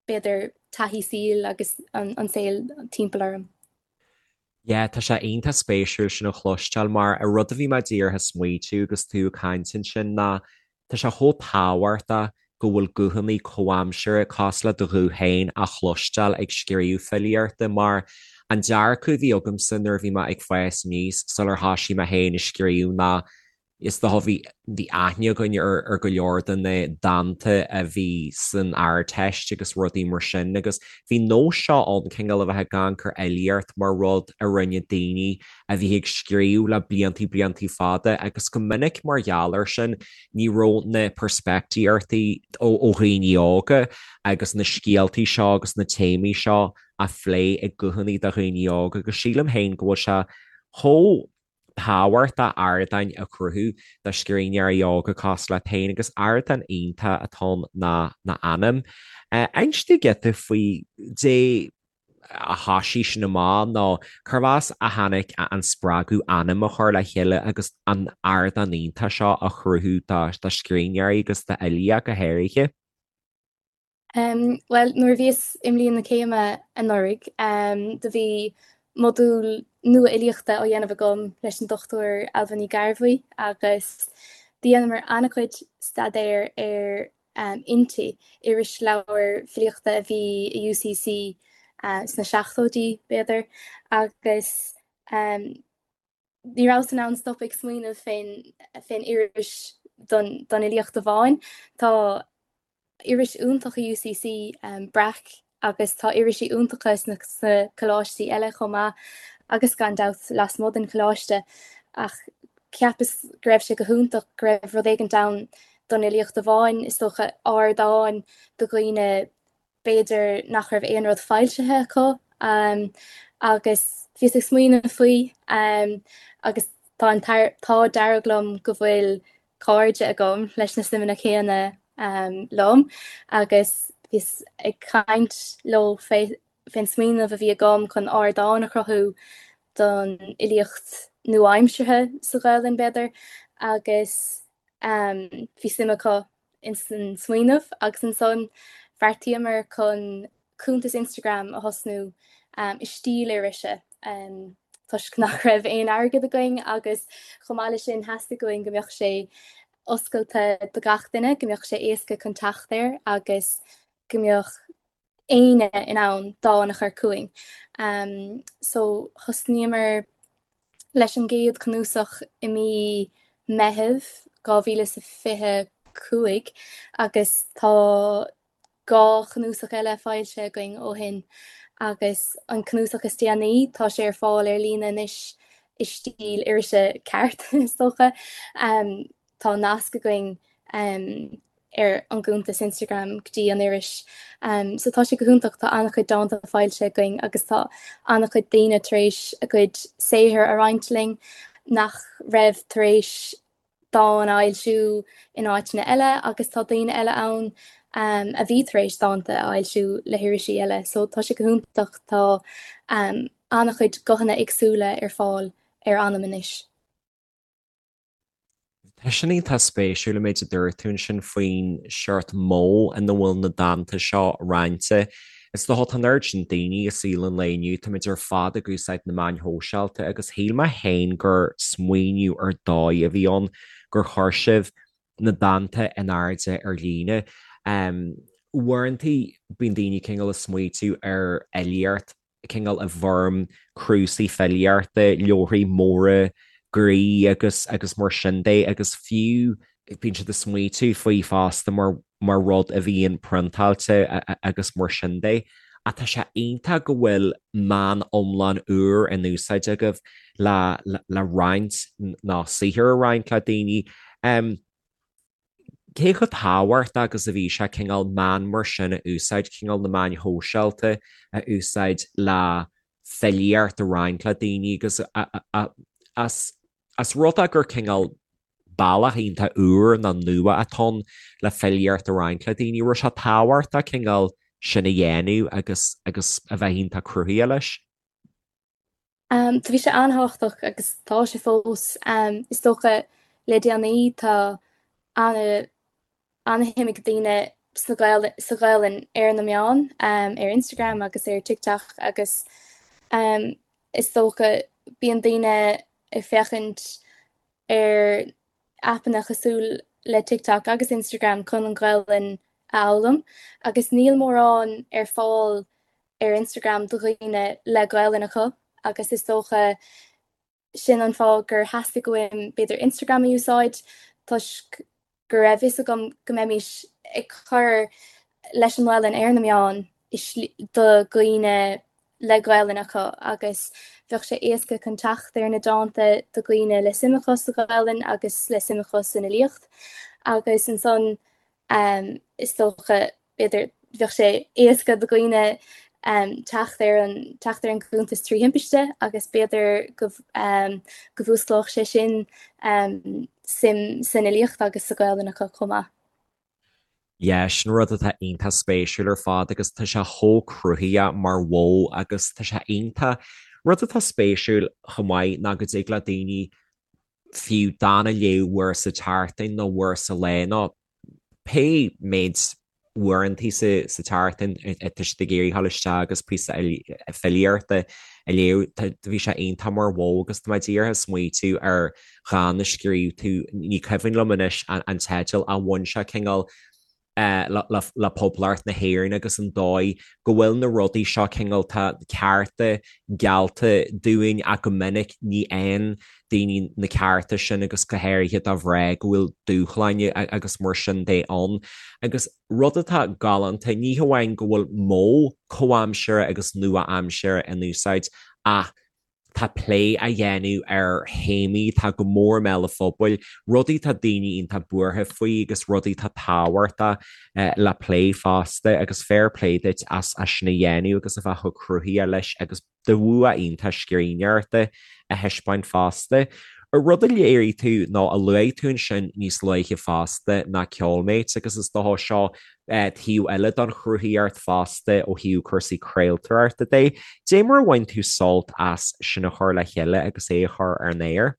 b'fhéidir taithí saoil agus an saol timpeall orm. Yeah, tá sé iontach spéisiúil sin a chloisteáil mar an rud a bhí mé díreach ag smaoitiú agus tú ag caint ansin ná tá sé chomh tábhachtach. go bhfuil guthanna comhaimseartha cosúil le do ghuth féin á chloisteáil ag scríobh filíochta mar an dearcadh a bhí agamsa nuair a bhí mé ag fás aníos sular thoisigh mé féin ag scríobh ná Is dócha bhí bhí aithne againn ar ar go leor de na dánta a bhí san Ardteist agus rudaí mar sin agus bhí nós seo ann cineál a bheith ag amharc ar fhilíocht mar rud a rinne daoine a bhí ag scríobh le bliantaí bliantaí fada agus go minic mar gheall air sin ní raibh na peirspictíochtaí ó ó dhaoine óga agus na scéaltaí seo agus na téamaí seo á phlé ag guthanna de dhaoine óga agus sílim féin go bhfuil sé chomh tábhachtach ardáin a chruthú do scríbhneoirí óga cosúil leat féin agus ardán iontach atá ann ná ná Anam. Inis dúinn giota faoi dé a thoisigh sin amach nó cérbh as a tháinig an spreagadh Anam a chur le chéile agus an ardán iontach seo a chruthú do scríbhneoirí agus d'fhilí ach go háirithe. Bhuel, nuair a bhíos i mbliain na céime anuraidh, do bhí modúl nua fhilíochta á dhéanamh agam leis an Dr Ailbhe Ní Ghearbhuigh agus do dheineamar an-chuid staidéir ar Innti, irisleabhar filíochta a bhí i UCC sna seachtóidí, b'fhéidir, agus ní rabhas in ann stop ag smaoineamh fén iris don fhilíocht amháin. Tá iris iontach i UCC, Breac, agus tá irisí iontacha sna coláistí eile chomh maith agus gan dabht lasmuigh den choláiste ach cheapas go raibh sé go hiontach go raibh rud éigint ann don fhilíocht amháin, is dócha ardán do dhaoine b'fhéidir nach raibh aon rud foilsithe acu agus bhíos ag smaoineamh faoi agus tá an t-ádh dearg liom go bhfuil cairde agam leis na suimeanna céanna liom agus bhíos ag caint leo fén smaoineamh a bhí agam chun ardán a chruthú don fhilíocht nua-aimseartha sa Ghaelainn b'fhéidir agus bhí suim acu ins an smaoineamh agus ansan bheartaíomar chun cuntas Instagram a thosnú i stíl irise toisc nach raibh aon airgead againn agus chomh maith leis sin theastaigh uainn go mbeadh sé oscailte do gach duine, go mbeadh sé éasca chun teacht air agus go mbeadh éinne in ann dán a chur chugainn. So thosnaíomar leis an gcéad chnuasach i mí Meitheamh 2025 agus tá 2 chnuasach eile foilsithe againn ó shin agus an cnuasach is déanaí tá sé ar fáil ar líne anois i stíl irise ceart is dócha. Tá nasc againn ar an gcuntas Instagram go dtí an iris. So tá sé go hiontach, tá an-chuid dánta foilsithe againn agus tá an-chuid daoine tar éis a gcuid saothair a roinnt linn nach raibh tar éis dán a fhoilsiú in áiteanna eile agus tá daoine eile ann a bhí tar éis dánta a fhoilsiú le hirisí eile. So tá sé go hiontach, tá an-chuid guthanna éagsúla ar fáil ar Anam anois. Tá sin iontach spéisiúil an méid a dúirt tú ansin faoin seort modh ina bhfuil na dánta seo roinnte. Is dócha tá an oiread sin daoine i saol an lae inniu, táimid ar fad ag úsáid na meáin shóisialta agus shíl mé féin gur smaoineamh ar dóigh a bhí ann gur chuir sibh na dánta in airde ar líne. Uaireanta bíonn daoine cineál ag smaoitiú ar fhilíocht cineál i bhfoirm cnuasaigh filíochta, leabharthaí móra groí agus agus mar sin de agus fiú bíonn siad ag smaoitiú faoi fosta mar mar rud a bhíonn priontáilte agus mar sin de. Ach tá sé iontach go bhfuil meán iomlán úr in úsáid agaibh le le roinnt nó saothar a roinnt le daoine. Cé chomh tábhachtach agus a bhí sé cineál meán mar sin a úsáid, cineál na meáin shóisialta a úsáid le filíocht a roinnt le daoine agus as as rud é gur cineál bealach iontach úr nó nua atá ann le filíocht a roinnt le daoine, raibh sé tábhachtach cineál sin a dhéanamh agus agus a bheith iontach cruthaitheach leis? Do bhí sé an-thábhachtach agus tá sé fós. Is dócha le déanaí tá ana-shuim ag daoine sna Gael sa Ghaelainn ar na meáin, ar Instagram agus ar TikTok agus is dócha bíonn daoine ag féachaint ar aipeanna cosúil le TikTok agus Instagram chun an Ghaelainn. a fhoghlaim agus níl mórán ar fáil ar Instagram do dhaoine le Gaelainn acu agus is dócha sin an fáth gur theastaigh uaim b'fhéidir Instagram a úsáid toisc go raibh fhios agam go mbeimis ag cur leis an nGaelainn ar na meáin do dhaoine le Gaelainn acu agus bheadh sé éasca chun teacht ar na dánta do dhaoine le suim acu sa Ghaelainn agus le suim acu san fhilíocht agus ansan is dócha b'fhéidir bheadh sé éasca do dhaoine teacht ar an teacht ar an gcuntas trí thimpiste agus b'fhéidir go go bhfuasclódh sé sin suim san fhilíocht agus sa Ghaelainn acu chomh maith. Yeah, sin rud atá iontach spéisiúil ar fad agus tá sé chomh cruthaitheach mar mhodh agus tá sé iontach. Rud atá spéisiúil chomh maith ná go dtig le daoine fiú dán a léamh uair sa tseachtain nó uair sa lá nó pé méid uaireantaí sa tseachtain atá siad ag iarraidh dhul isteach agus píosa filíochta a léamh. Bhí sé iontach mar mhodh agus tá mé díreach ag smaoitiú ar dhán a scríobh tú, ní cuimhin liom anois an teideal, ach bhain sé cineál le Poblacht na hÉireann agus an dóigh go bhfuil na rudaí seo cineál, tá cearta geallta dúinn ach go minic ní fhaigheann daoine na cearta sin agus go háirithe do mhná go bhfuil dúshláin agus mar sin de ann. Agus rud atá galánta, ní hamháin go bhfuil modh comhaimseartha agus nua-aimseartha in úsáid ach tá plé á dhéanamh ar théamaí atá go mór i mbéal an phobail, rudaí atá daoine iontach buartha faoi agus rudaí atá tábhachtach le plé fosta agus fair play duit as sin a dhéanamh agus a bheith chomh cruthaitheach leis agus do bhua iontach scríbhneoireachta a thaispeáint fosta. Rud a léirigh tú nó a luaigh tú ansin níos luaithe fosta ná Ceolmates agus is dócha seo taobh eile don chruthaíocht fosta ó thaobh cúrsaí craoltóireachta de. Dé mar a bhain tú sult as sin a chur le chéile agus é a chur ar an aer?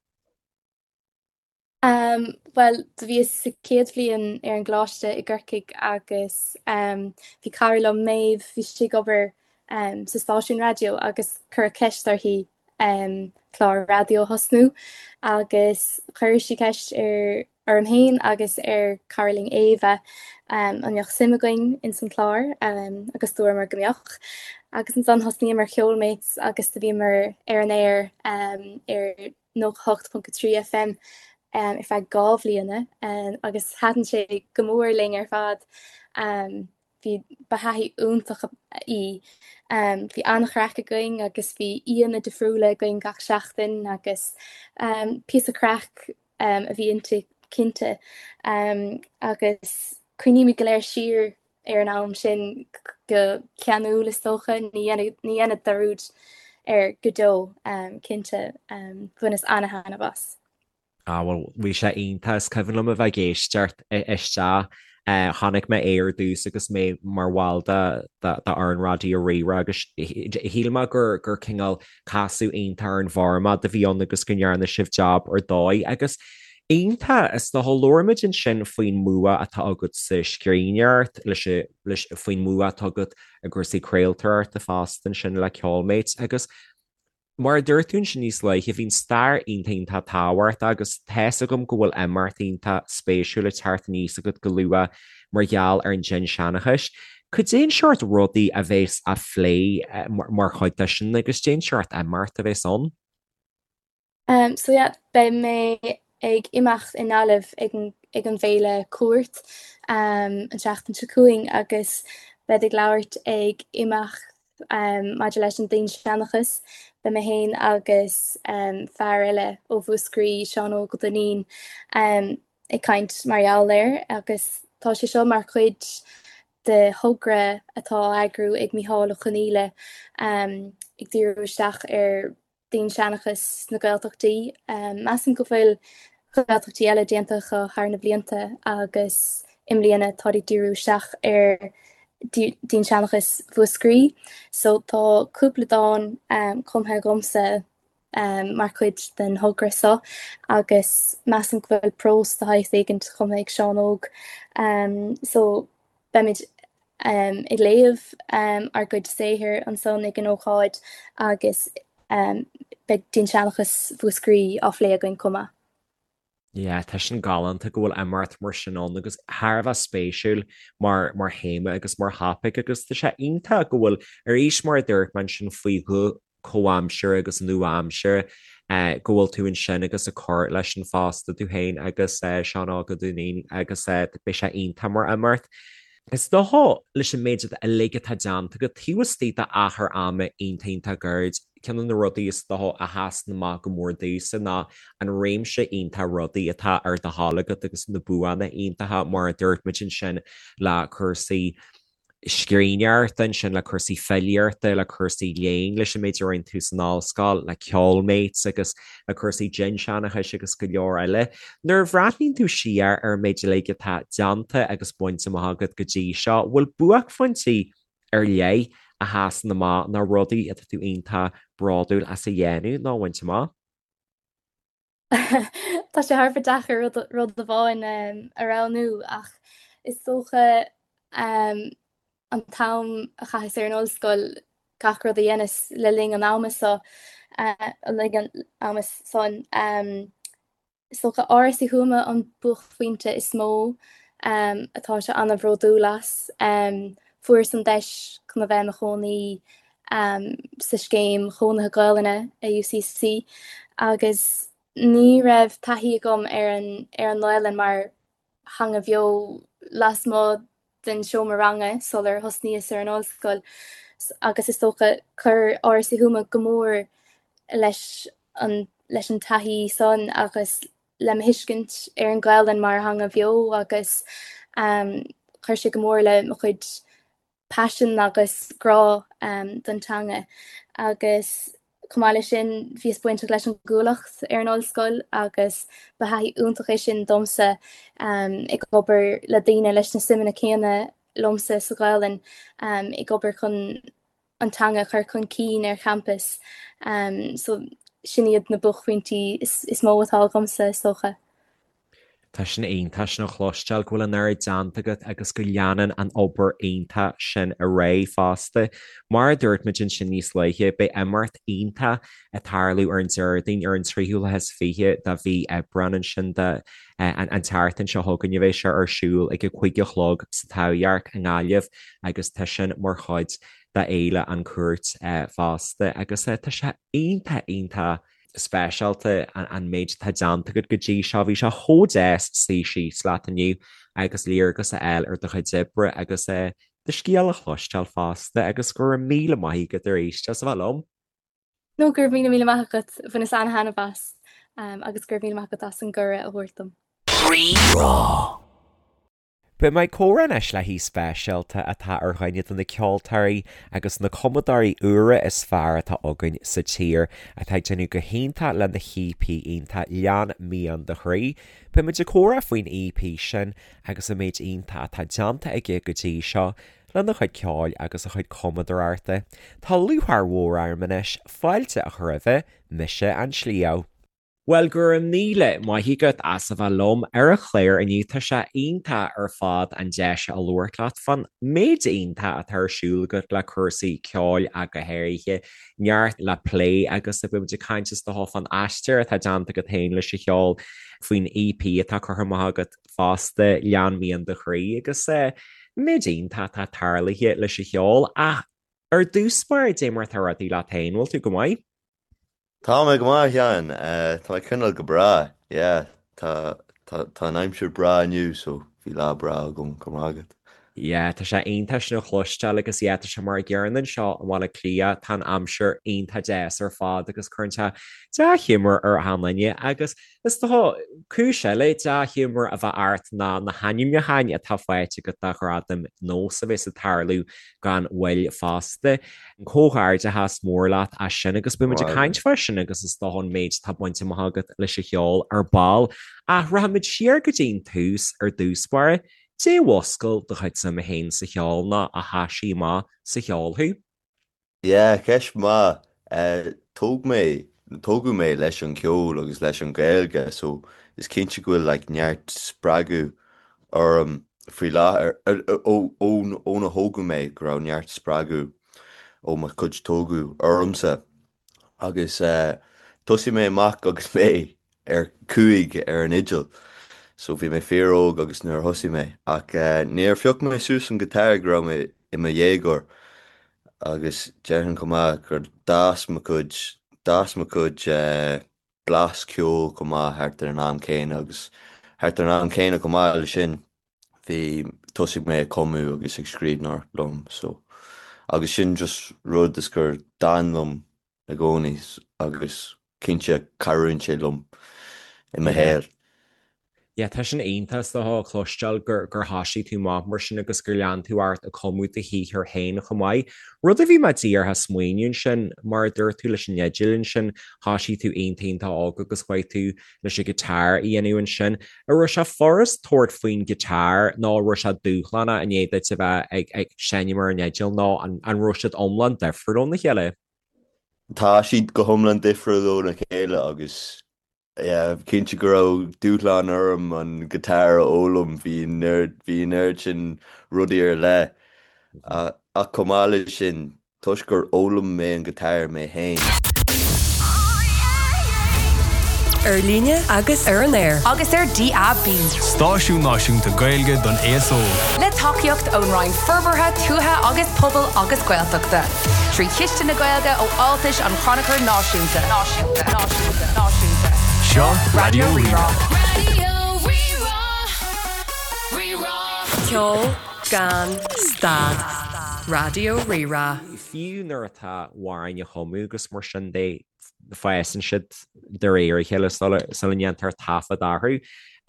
Um, bhuel, do bhíos sa chéad bhliain ar an gcoláiste i gCorcaigh agus um, bhí cara liom Méabh, bhí sí ag obair um, sa stáisiún raidió agus cuireadh ceist uirthi um, clár raidió a thosnú agus chuir sí ceist ar orm féin agus ar cara linn Éabha an mbeadh suim againn ins an chlár agus dúramar go mbeadh. Agus ansan thosnaíomar Ceolmates agus do bhíomar ar an aer ar 98.3 FM ar feadh 2 bhliana agus thaitin sé go mór linn ar fad. Bhí, ba thaithí iontach í. Bhí an-chraic againn agus bhí aíonna difriúla againn gach seachtain agus píosa craic a bhí inti cinnte agus cuimhnímid go léir siar ar an am sin go ceanúil is dócha, ní dhéanfad dearúd air go deo cinnte. Bhaineas ana-thaitneamh as. Ah bhuel bhí sé iontach, is cuimhin liom a bheith ag éisteacht isteach. Chonaic mé é ar dtús agus mé mar bhall de fhoireann Raidió Rí-Rá agus shíl mé gur gur cineál casadh iontach ar an bhformáid a bhí ann agus go ndearna sibh jab ar dóigh agus iontach is dócha labhair muid ansin faoin mbua atá agat sa scríbhneoireacht leis leis faoin mbua atá agat i gcúrsaí craoltóireachta fosta ansin le Ceolmates agus Mar a dúirt tú ansin níos luaithe, bhí an stair iontach iontach tábhachtach agus tá's agam go bhfuil imeacht iontach spéisiúil ag teacht aníos agat go luath mar gheall ar an dinnseanchas. Cad é an seort rudaí a bheas á phlé mar chuid de sin agus cad é an seort imeacht a bheas ann? So yeah, beidh mé ag imeacht i nGaillimh ag an ag an bhféile Cúirt an tseachtain seo chugainn agus bead ag labhairt ag imeacht maidir leis an dinnseanchas. Beidh mé féin agus fear eile ó Mhúscraí, Seán Óg Ó Duinnín, ag caint mar gheall air agus tá sé seo mar chuid de thogra atá á eagrú ag Micheál Ó Conghaile ag díriú isteach ar dinnseanchas sna Gaeltachtaí. Measaim go bhfuil Gaeltachtaí eile déanta acu thar na blianta agus i mbliana táid ag díriú isteach ar dinnseanchas Mhúscraí. So tá cúpla dán cumtha agamsa mar chuid den thogra seo agus measaim go bhfuil prós de shaghas éigint cumtha ag Seán Óg. So beimid ag léamh ár gcuid saothair ansan ag an ócáid agus beidh dinnseanchas Mhúscraí á phlé againn chomh maith. Yeah, tá sin galánta go bhfuil imeacht mar sin ann agus thar a bheith spéisiúil mar mar théama agus mar thopaic agus tá sé iontach go bhfuil arís mar a dúirt mé ansin faoi ghuth comhaimseartha agus nua-aimseartha go bhfuil tú ansin agus ag cur leis sin fosta tú féin agus Seán Óg Ó Duinnín agus beidh sé iontach mar imeacht. Is dócha leis an méid uilig atá déanta agat taobh istigh d'achar ama iontach iontach gairid, ceann de na rudaí is dócha a sheasann amach go mór domhsa ná an réimse iontach rudaí atá ar do thoil agat agus na buanna iontacha mar a dúirt muid ansin le cúrsaí scríbhneoireachta ansin, le cúrsaí filíochta, le cúrsaí léinn, leis an méid a rinne tú san ollscoil, le Ceolmates agus le cúrsaí dinnseanchais agus go leor eile. Nuair a bhreathnaíonn tú siar ar an méid uilig atá déanta agus bainte amach agat go dtí seo, bhfuil buaicphointí ar leith a sheasann amach nó rudaí atá tú iontach bródúil as a dhéanamh nó a bhaint amach? Tá sé thar a bheith deacair rud amháin a roghnú ach is dócha an t-am a chaitheas ar an ollscoil, gach rud a dheineas le linn an ama so, le linn an ama san, is dócha Áras Uí Thuama an buaicphointe is mó atáimse an-bhródúil as. Fuaireas an deis chun a bheith i mo chónaí sa scéim chónaithe Gaelainne i UCC agus ní raibh taithí agam ar an ar an nGaelainn mar theanga bheo lasmuigh den seomra ranga sular thosnaíos ar an ollscoil agus is dócha chuir Áras Uí Thuama go mór leis an leis an taithí san agus le mo thuiscint ar an Ghaelainn mar theanga bheo agus chuir sé go mór le mo chuid paisean agus grá don teanga agus chomh maith leis sin bhíos bainteach leis an gCuallacht ar an ollscoil agus ba thaithí iontach é sin domsa ag obair le daoine leis na suimeanna céanna liomsa sa Ghaelainn ag obair chun an teanga a chur chun cinn ar champas. So sin iad na buaicphointí is mó atá agamsa is dócha. Tá sin iontach sin a chloisteáil, go bhfuil an oiread déanta agat agus go leanann an obair iontach sin ar aghaidh fosta. Mar a dúirt muid ansin níos luaithe, beidh imeacht iontach ag tarlú ar an Déardaoin ar an tríú lá is fiche de mhí Aibreán ansin de an tseachtain seo chugainn a bheidh sé ar siúl ag a 5 a chlog sa Taibhdhearc i nGaillimh agus tá sin mar chuid d'Fhéile An Cúirt fosta agus tá sé iontach iontach speisialta an méid atá déanta agat go dtí seo. Bhí sé chomh deas suí síos leat inniu agus léargas a fháil ar do chuid oibre agus do scéal a chloisteáil fosta agus go raibh míle maith agat arís as a bheith liom. No, go raibh míle míle maith agat, bhaineas an-thaitneamh as agus go raibh míle maith agat as an gcuireadh a thabhairt dom. Rí-Rá. Beidh mé ag comhrá anois le haoi speisialta atá ar dhuine de na ceoltóirí agus na cumadóirí úra is fearr atá againn sa tír, atá ag déanamh go hiontach lena EP iontach Lean Mian Do Chroí. Beidh muid ag comhrá faoin EP sin agus an méid iontach atá déanta aige go dtí seo lena chuid ceoil agus a chuid cumadóireachta. Tá lúcháir mhór orm anois fáilte a chur roimhe, mise an Sliabh. Bhuel, go raibh míle maith agat as a bheith liom ar an chlár inniu. Tá sé iontach ar fad an deis a labhairt leat fán méid iontach atá ar siúl agat le cúrsaí ceoil ach go háirithe. Neart le plé agus beidh muid ag caint is dócha fán aistear atá déanta agat féin leis an cheol, faoin EP atá curtha amach agat fosta, Lean Mian Do Chroí, agus an méid iontach atá tarlaithe leis an cheol. Ach ar dtús báire, dé mar atá rudaí leat féin, bhfuil tú go maith? Tá mé go maith, a Sheáin. Tá mé ag coinneáil go breá. Yeah, tá, tá, tá an aimsir breá inniu so bhí lá breá agam, go raibh maith agat. Yeah, tá sé iontach sin a chloisteáil agus yeah, tá sé mar an gcéanna anseo i mBaile Átha Cliath, tá an aimsir iontach deas ar fad agus cuireann sé dea-ghiúmar ar achan duine agus Is dócha, cúis eile dea-ghiúmar a bheith ort ná na hainmniúcháin atá faighte agat do Ghradaim Nós a bheas ag tarlú gan mhoill fosta. Comhghairdeachas mór leat as sin agus beidh muid ag caint fá sin agus is dócha an méid atá bainte amach agat leis an cheol ar ball. Ach rachaimid siar go dtí an tús ar dtús báire. Dé a mhuscail do chuid suime féin sa cheol nó a thoisigh amach sa cheol thú? Yeah, ceist mhaith. Tóg mé, tógadh mé leis an cheol agus leis an Ghaeilge so is cinnte go bhfuil like neart spreagadh orm faoi láthair, ón óna thógadh mé go raibh neart spreagadh ó mo chuid tógadh ormsa. Agus thosaigh mé amach agus mé. ar 5 ar an fhidil. So bhí mé fíor-óg agus nuair a thosaigh mé ach níor phioc mé suas an guitar go raibh mé i mo dhéagóir agus déarfainn chomh maith gur d'fhás mo chuid, d'fhás mo chuid blas ceoil chomh maith thart ar an am céanna agus thart ar an am céanna chomh maith leis sin bhí, thosaigh mé ag cumadh agus ag scríbhneoireacht liom so agus sin just rud is gur d'fhan liom i gcónaí agus cinnte cabhraíonn sé liom i mo shaol. Yeah, tá sin iontach is dócha a chloisteáil gur gur thoisigh tú amach mar sin agus gur lean tú ort ag cumadh do shaothar féin chomh maith. Rud a bhí mé díreach ag smaoineamh ansin, mar a dúirt tú leis an fhidil ansin, thoisigh tú iontach iontach óg agus chuaigh tú leis an guitar a dhéanamh ansin. An raibh sé furast tabhairt faoin guitar nó an raibh sé dúshlánach i ndiaidh duit a bheith ag ag seinm ar an fhidil nó an an raibh siad iomlán difriúil óna chéile? Tá siad go hiomlán difriúil óna chéile agus yeah, cinnte go raibh dúshlán orm an guitar a fhoghlaim, bhí an oiread, bhí an oiread sin rudaí ar leith. Ach chomh maith leis sin, toisc gur fhoghlaim mé an guitar mé féin. Ar líne agus ar an aer. Agus ar DAB. Stáisiún náisiúnta Gaeilge don aos óg. Le tacaíocht ón Roinn Forbartha Tuaithe agus Pobail agus Gaeltachta. 3 Chiste na Gaeilge ó Fháltais an Chrannchuir Náisiúnta. Náisiúnta. Náisiúnta. Náisiúnta. Seo Raidió Rí-Rá. Ceol gan stad. Raidió Rí-Rá. Fiú nuair atá amhráin á gcumadh agus mar sin de, fásann siad de réir a chéile sula ndéantar taifead orthu.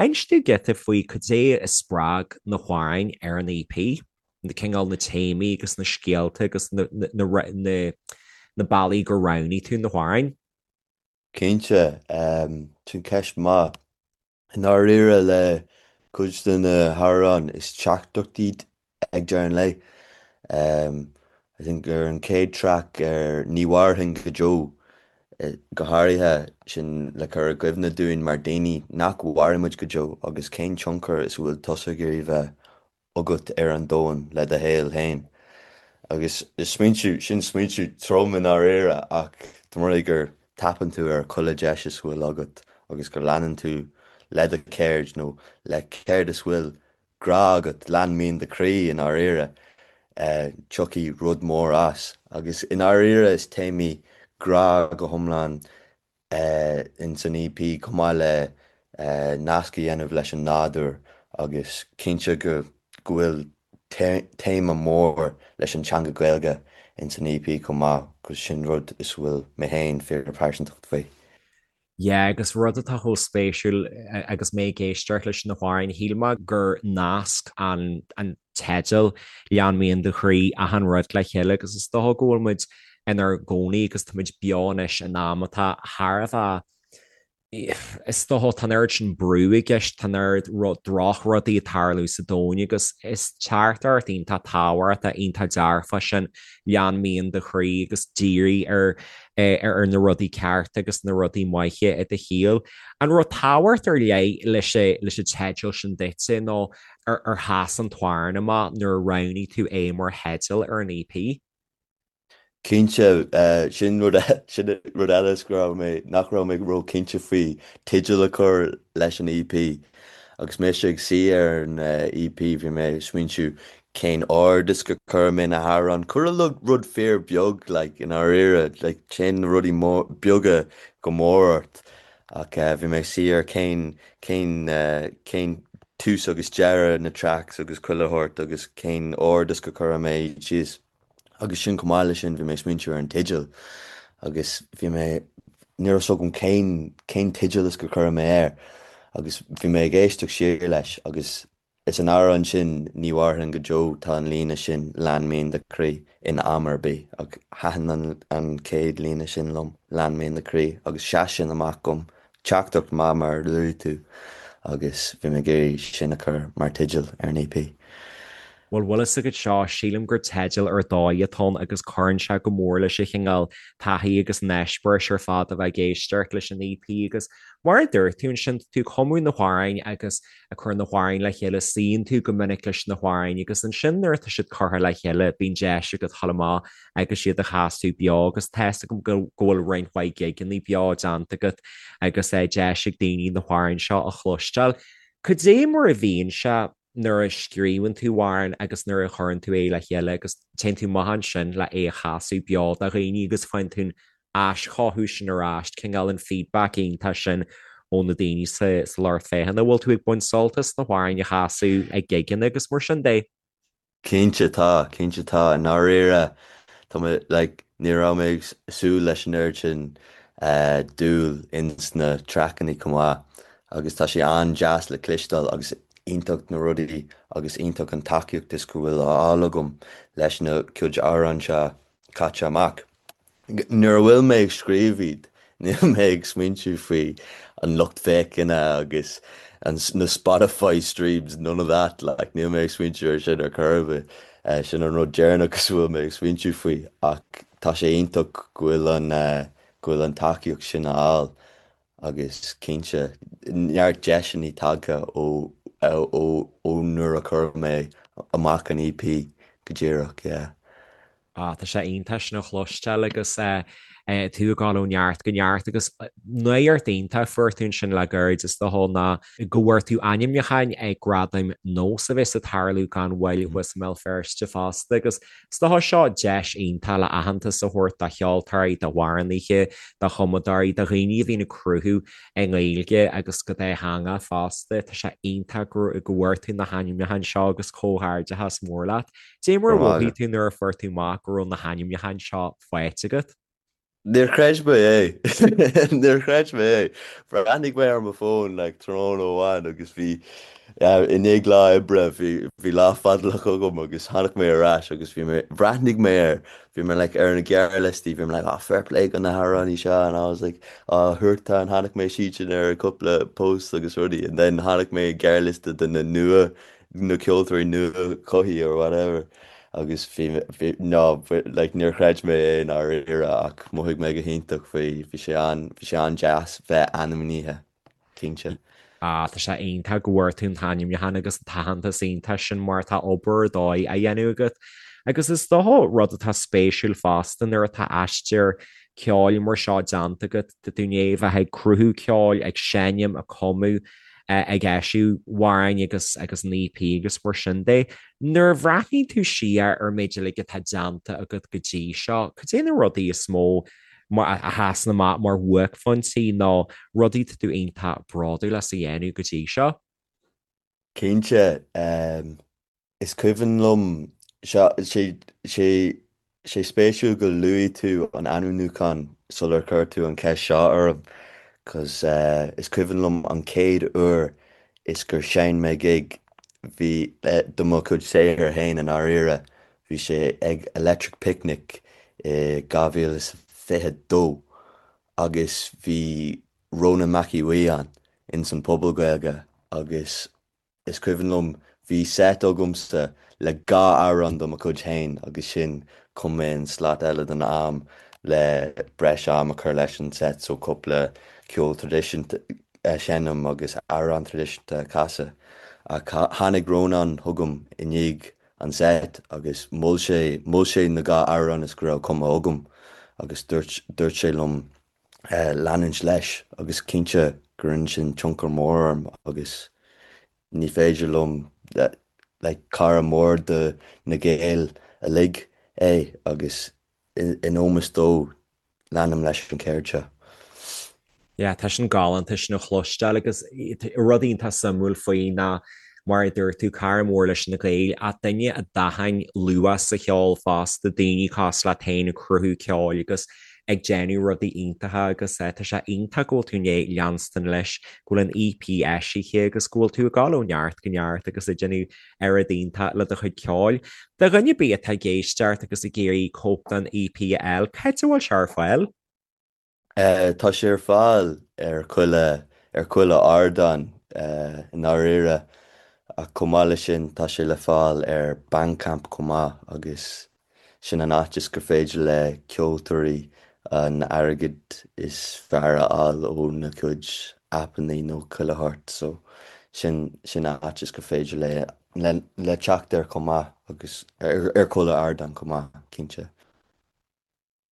Inis dúinn giota faoi cad é a spreag na hamhráin ar an EP, na cineál na téamaí agus na scéalta agus na bealaí gur roghnaigh tú na hamhráin. Cinnte, sin ceist maith. I ndáiríre le cuid de na hamhráin is teachtaireacht iad ag deireadh an lae. I think ar an chéad track ar Ní Mhairfinn Go Deo go háirithe, sin le cur i gcuimhne dúinn mar daoine nach mhairfidh muid go deo agus cén tionchar is a bhfuil tusa ag iarraidh bheith agat ar an domhan le do shaol féin. Agus is smaointiú, sin smaointiú trom i ndáiríre ach dá mba rud é gur tapann tú ar chuile deis is bhfuil agat agus go leanann tú le do cheird nó le céard is bhfuil grá agat, lean mian do chroí i ndáiríre, tiocfaidh rud mór as. Agus i ndáiríre is téamaí grá go hiomlán ins an EP chomh maith le nasc a dhéanamh leis an nádúr agus cinnte go go bhfuil téama mór leis an teanga Gaeilge ins an EP chomh maith 'cause sin rud is bhfuil mé féin fíor-phearsantacht faoi. Yeah agus rud atá chomh spéisiúil agus mé ag éisteacht leis na hamhráin, shíl mé gur nasc an an teideal Lean Mian Do Chroí achan rud le chéile agus is dócha go bhfuil muid inár gcónaí agus tá muid beo anois in am atá thar a bheith is dócha tá an oiread sin brú i gceist, tá an oiread drochrudaí ag tarlú sa domhan agus is teachtaireacht iontach tábhachtach, iontach dearfach sin lean mian do chroí agus dírigh ar ar na rudaí cearta agus na rudaí maithe i do shaol. An raibh tábhacht ar leith leis leis an teideal sin duitse nó ar sheas an t-amhrán amach nuair a roghnaigh tú é mar theideal ar an EP? Cinnte, sin rud sin rud eile is go raibh mé, nach raibh mé ró-chinnte faoi teideal a chur leis an EP. Agus mise ag suí ar an EP bhí mé ag smaointiú cén ord is gur chuir mé na hamhráin. Chuile rud fíor beag like i ndáiríre, like téann na rudaí mór, beaga go mór ort. Ach bhí mé ag suí ar cén, cén, cén tús agus deireadh na tracks agus chuile shórt agus cén ord is gur chuir mé iad síos. Agus sin chomh maith leis sin bhí mé ag smaointiú ar an teideal agus bhí mé, ní raibh 's agam cén, cén teideal is gur chuir mé air agus bhí mé ag éisteacht siar leis agus is an amhrán sin Ní Mhairfinn Go Deo tá an líne sin Lean mian do chroí in am ar bith ach thaitin an, an chéad líne sin liom Lean mian do chroí agus sheas sin amach dom Teachtaireacht maith mar a luaigh tú agus bhí mé ag iarraidh sin a chur mar teideal ar an EP. Bhuel, bhfuil fhios agat seo, sílim gur teideal ar dóigh atá ann agus cuireann sé go mór leis an chineál taithí agus an eispéiris ar fad a bheith ag éisteacht leis an EP agus mar a dúirt tú ansin, tá tú ag cumadh na hamhráin agus ag cur na hamhráin le chéile, suíonn tú go minic leis na hamhráin agus ansin nuair atá siad curtha le chéile bíonn deis agat dhul amach agus iad a chasadh beo agus tá fhios agam go bhfuil roinnt mhaith gigeanna beo déanta agat agus deis ag daoine na hamhráin seo a chloisteáil. Cad é mar a bhíonn sé nuair a scríobhann tú amhrán agus nuair a chuireann tú é le chéile agus téann tú amach ansin le é a chasadh beo do dhaoine agus faigheann tú an aischothú sin ar ais, cineál an feedback iontach sin ó na daoine sa lucht féachana. Bhfuil tú ag baint sult as na hamhráin a chasadh ag gigeanna agus mar sin de? Cinnte tá, cinnte tá. I ndáiríre, tá mé, like, ní raibh mé ag súil leis an oiread sin dúil ins na traiceanna chomh maith agus tá sé an-deas le cloisteáil agus iontach na rudaí agus iontach an tacaíocht is go bhfuil á fháil agam leis na cuid amhrán seo caite amach. Nuair a bhfuil mé ag scríobh iad, níl mé ag smaointiú faoi an lucht féachana agus na Spotify streams, none of that, like, níl mé ag smaointiú ar sin ar chor ar bith. Sin an rud deireanach is a bhfuil mé ag smaointiú faoi ach tá sé iontach go bhfuil an, go bhfuil an tacaíocht sin á fháil agus cinnte, neart deiseanna tagtha ó, ó, ó nuair a chuir mé amach an EP go díreach, yeah. Ah, tá sé iontach sin a chloisteáil agus tú ag dul ó neart go neart agus nuacht iontach a fuair tú ansin le gairid is dócha ná go bhfuair tú ainmniúcháin ag Gradaim Nós a bheas ag tarlú gan mhoill thuas i mBéal Feirste fosta agus is dócha seo deis iontach le aitheantas a thabhairt do cheoltóirí, d'amhránaithe, do chumadóirí, do dhaoine a bhíonn ag cruthú i nGaeilge agus go dátheangach fosta. Tá sé iontach go bhfuair tú na hainmniúcháin seo agus comhghairdeachas mór leat. Dé mar a mhothaigh tú nuair a fuair tú amach go raibh na hainmniúcháin seo faighte agat? Níor chreid mé é. Níor chreid mé é. Bhreathnaigh mé ar mo fón like tráthnóna amháin agus bhí i ndiaidh lá oibre bhí bhí lá fadálach agam agus tháinig mé ar ais agus bhí mé bhreathnaigh mé air bhí mé like ar na gearrliostaí bhí mé like oh fair play do na hamhránaí seo and I was like oh Huartan tháinig mé siad sin ar cúpla post agus rudaí and then tháinig mé gearrliosta de na nua na ceoltóirí nua-chothaithe or whatever agus bhí bhí no like níor chreid mé é i ndáiríre ach mhothaigh mé go hiontach faoi bhí sé an bhí sé an-deas bheith ainmnithe cinnte. Ah tá sé iontach go bhfuair tú an t-ainmniúchán agus an t-aitheantas iontach sin mar tá obair ar dóigh á dhéanamh agat. Agus is dócha rud atá spéisiúil fosta nuair atá aistear ceoil mar seo déanta agat, tá tú i ndiaidh bheith ag cruthú ceoil, ag seinm, ag cumadh, ag eisiú amhráin agus agus an EP agus mar sin de. Nuair a bhreathnaíonn tú siar ar an méid uilig atá déanta agat go dtí seo, cad é na rudaí is mó a sheasann amach mar bhuaicphointí nó rudaí atá tú iontach bródúil as a dhéanamh go dtí seo? Cinnte, Is cuimhin liom, sé, sé, sé spéisiúil go luaigh tú an ainmniúchán sular chuir tú an cheist seo orm, 'cause is cuimhin liom an chéad uair is gur sheinn mé gig, bhí, do mo chuid saothair féin i ndáiríre, bhí sé ag Electric Picnic i 2022 agus bhí Rónán Mac Aodha Bhuí ann, ins an Phuball Gaeilge agus Is cuimhin liom, bhí set agamsa le 2 amhrán do mo chuid féin agus sin chum mé an slat eile den am le breis am a chur leis an set so cúpla ceol traidisiúnta a sheinm agus amhrán traidisiúnta a chasadh. Ach tháinig Rónán chugam i ndiaidh an set agus mhol sé, mhol sé na 2 amhrán is go raibh cumtha agam agus dúirt, dúirt sé liom leanúint leis agus cinnte go rinne sin tionchar mór orm agus ní féidir liom like cara mór do na Gaeil uilig é agus in ómós dó leanaim leis an cheird seo. Yeah, tá sin galánta sin a chloisteáil agus rud iontach suimiúil faoi ná mar a dúirt tú, cara mór leis na Gaeil ach duine a d'aithin luach sa cheol fosta, daoine cosúil leat féin ag cruthú ceoil agus ag déanamh rudaí iontacha agus tá sé iontach go bhfuil tú i ndiaidh leanstan leis, go bhfuil an EP eisithe agus go bhfuil tú ag dul ó neart go neart agus ag déanamh oiread iontach le do chuid ceoil. Do dhuine ar bith atá ag éisteacht agus ag iarraidh cóip den EP a fháil, cá háit a bhfuil sé ar fáil? Tá sé ar fáil ar chuile, ar chuile ardán i ndáiríre. Ach chomh maith leis sin tá sé le fáil ar Bandcamp chomh maith agus sin an áit is gur féidir le ceoltóirí an airgead is fearr a fháil ó na cuid aipeanna nó chuile shórt so sin sin áit is gur féidir le le teacht air chomh maith agus ar chuile ardán chomh maith cinnte.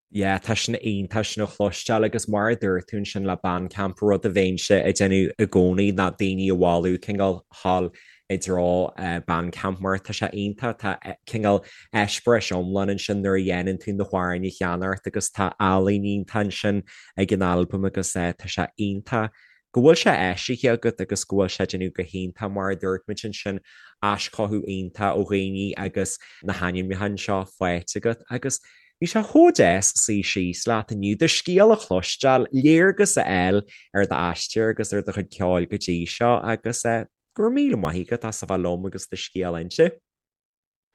Yeah, tá sin iontach sin a chloisteáil agus mar a dúirt tú ansin le Bandcamp, rud a bheinnse ag déanamh i gcónaí ná daoine a mholadh cineál dhul i dtreo Bandcamp mar tá sé iontach, tá cineál eispéireas iomlán ansin nuair a dhéanann tú na hamhráin a cheannacht agus tá ealaín iontach ansin ag an albam agus tá sé iontach go bhfuil sé eisithe agat agus go bhfuil sé ag déanamh go hiontach, mar a dúirt muid ansin, aischothú iontach ó dhaoine agus na hainmneacha anseo faighte agat agus bhí sé chomh deas suí síos leat inniu, do scéal a chloisteáil, léargas a fháil ar d'aistear agus ar do chuid ceoil go dtí seo agus go raibh míle maith agat as a bheith liom agus do scéal a inse.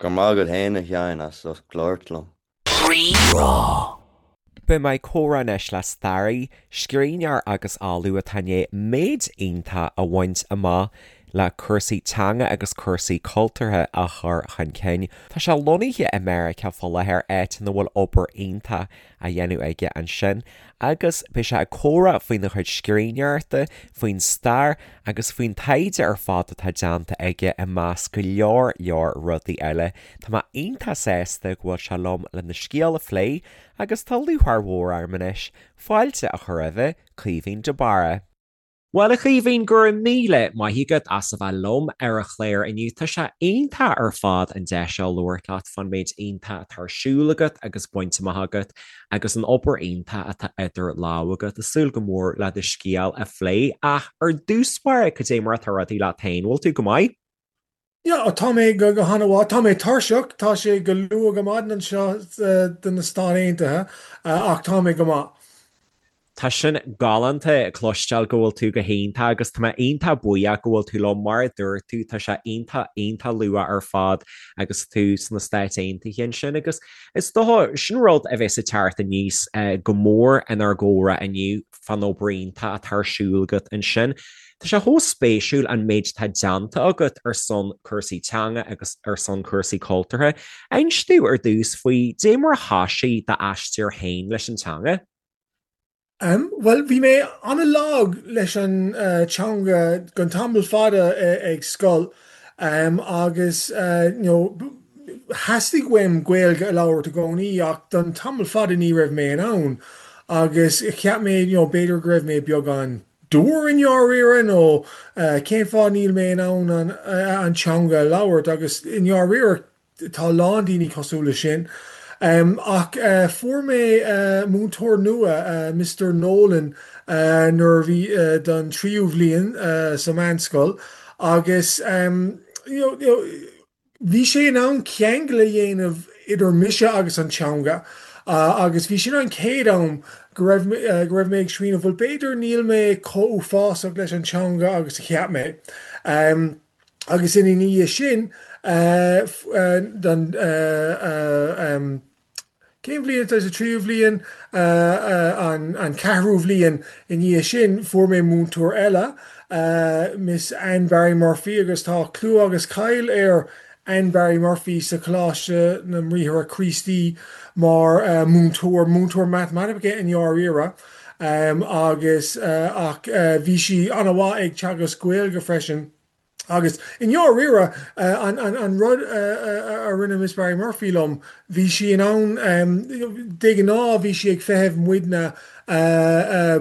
Go raibh maith agat féin a Sheáin as ucht labhairt liom. Rí-Rá. Beidh mé ag comhrá anois le staraí, scríbhneoir agus ollamh atá i ndiaidh méid iontach a bhaint amach le cúrsaí teanga agus cúrsaí cultúrtha a chur chun cinn. Tá sé lonnaithe i Meiriceá fá láthair, áit ina bhfuil obair iontach á dhéanamh aige ansin agus beidh sé ag comhrá faoina chuid scríbhneoireachta, faoin stair agus faoin taighde ar fad atá déanta aige i measc go leor leor rudaí eile. Tá mé iontach sásta go bhfuil sé liom lena scéal a phlé agus tá lúcháir mhór orm anois fáilte a chur roimhe, Caoimhín de Barra. Bhuel, a Chaoimhín, go raibh míle maith agat as a bheith liom ar an chlár inniu. Tá sé iontach ar fad an deis seo labhairt leat fán méid iontach atá ar siúl agat agus bainte amach agat agus an obair iontach atá idir lámha agat. Ag súil go mór le do scéal a phlé. Ach ar dtús báire, cad é mar atá rudaí leat féin? Bhfuil tú go maith? Yeah, tá mé go han-mhaith. Tá mé tuirseach, tá sé go luath go maidin anseo do na Stáit Aontaithe, ach tá mé go maith. Tá sin galánta cloisteáil go bhfuil tú go hiontach agus tá mé iontach buíoch go bhfuil tú liom. Mar a dúirt tú, tá sé iontach, iontach luath ar fad agus tú sna Stáit Aontaithe ansin agus is dócha, sin rud a bheas ag teacht aníos go mór inár gcomhrá inniu. fán obair iontach atá ar siúl agat ansin. Tá sé chomh spéisiúil an méid atá déanta agat ar son cúrsaí teanga agus ar son cúrsaí cultúrtha. Inis domh ar dtús faoi dé mar a thoisigh d'aistear féin leis an teanga. Bhuel, bhí mé an-lag leis an teanga don tamall fada ag scoil agus you know Theastaigh uaim Gaeilge a labhairt i gcónaí ach don tamall fada ní raibh mé in ann agus cheap mé you know b'fhéidir go raibh mé beagán dúr i ndáiríre nó cén fáth níl mé in ann an an teanga a labhairt agus i ndáiríre tá a lán daoine cosúil le sin. Ach fuair mé múinteoir nua, Mister Nolan, nuair a bhí don tríú bhliain sa mheánscoil agus you know you know Bhí sé in ann ceangal a dhéanamh idir mise agus an teanga agus bhí sin an chéad am go raibh go raibh mé ag smaoineamh bhuel b'fhéidir níl mé chomh uafásach leis an teanga agus a cheap mé. Agus ina dhiaidh sin don Cén bhliain atá sa tríú bhliain? An ceathrú bhliain i ndiaidh sin fuair mé múinteoir eile, Miss Anne Barry Murphy agus tá clú agus cáil ar Anne Barry Murphy sa Choláiste na mBriathra Críostaí mar múinteoir, múinteoir matamaitice i ndáiríre agus ach bhí sí an-mhaith ag teagasc Gaeilge freisin. Agus i ndáiríre, an rud a rinne Miss Barry Murphy liom, bhí sí in ann, de ghnáth bhí sí ag feitheamh muidne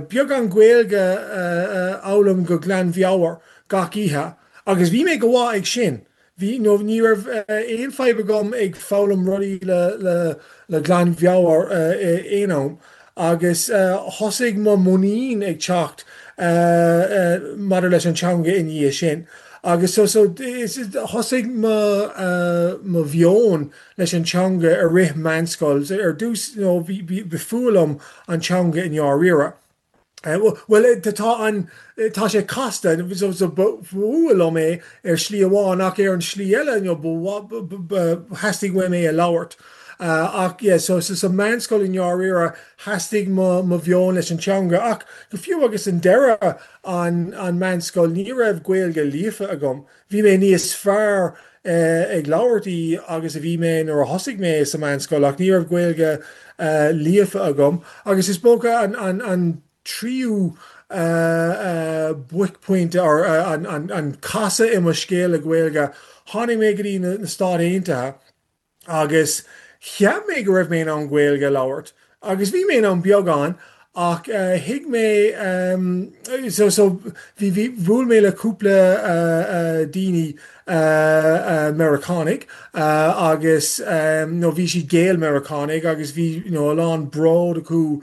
beagán Gaeilge a fhoghlaim go glanmheabhair gach oíche, agus bhí mé go mhaith ag sin. Bhí, nó ní raibh aon fadhb agam ag foghlaim rudaí le le glanmheabhair aon am. Agus thosaigh mo mhuinín ag teacht maidir leis an teanga i ndiaidh sin. Agus so so thosaigh mo mo mheon leis an teanga i rith meánscoil. Ar dtús you know bhí ba fuath liom an teanga i ndáiríre. Bhuel tá an tá sé casta so so ba fuath liom é ar shlí amháin ach ar an slí eile you know ba theastaigh uaim é a labhairt. Ach yeah, so sa meánscoil i ndáiríre theastaigh mo mo mheon leis an teanga ach go fiú agus an deireadh an an meánscoil ní raibh Gaeilge líofa agam. Bhí mé níos fearr ag labhairt í agus a bhí mé nuair a thosaigh mé sa meánscoil ach ní raibh Gaeilge líofa agam agus is dócha an an an tríú buaicphointe or an an casadh i mo scéal le Gaeilge, tháinig mé go dtí na Stáit Aontaithe agus cheap mé go raibh mé in ann Gaeilge a labhairt agus bhí mé in ann beagán ach thuig mé so so bhí bhí bhuail mé le cúpla daoine Meiriceánaigh agus nó bhí siad Gael-Meiriceánaigh agus bhí you know a lán bród acu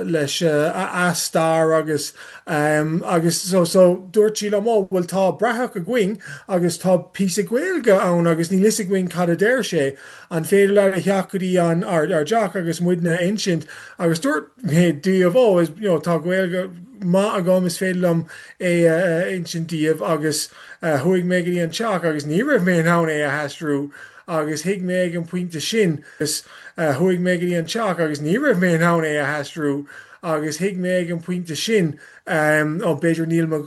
leis a stair agus agus so so dúirt sí liom ó bhuel tá bratach againn agus tá píosa Gaeilge ann agus níl fhios againn cad a deir sé, an féidir leat a theacht go dtí an ár ár dteach agus muidne a insint agus dúirt mé díobh ó is you know tá Gaeilge maith agam is féidir liom é a insint díobh agus chuaigh mé go dtí an teach agus ní raibh mé in ann é a aistriú agus thuig mé ag an pointe sin agus chuaigh mé go dtí an teach agus ní raibh mé in ann é a aistriú agus thuig mé ag an pointe sin ó b'fhéidir níl mo.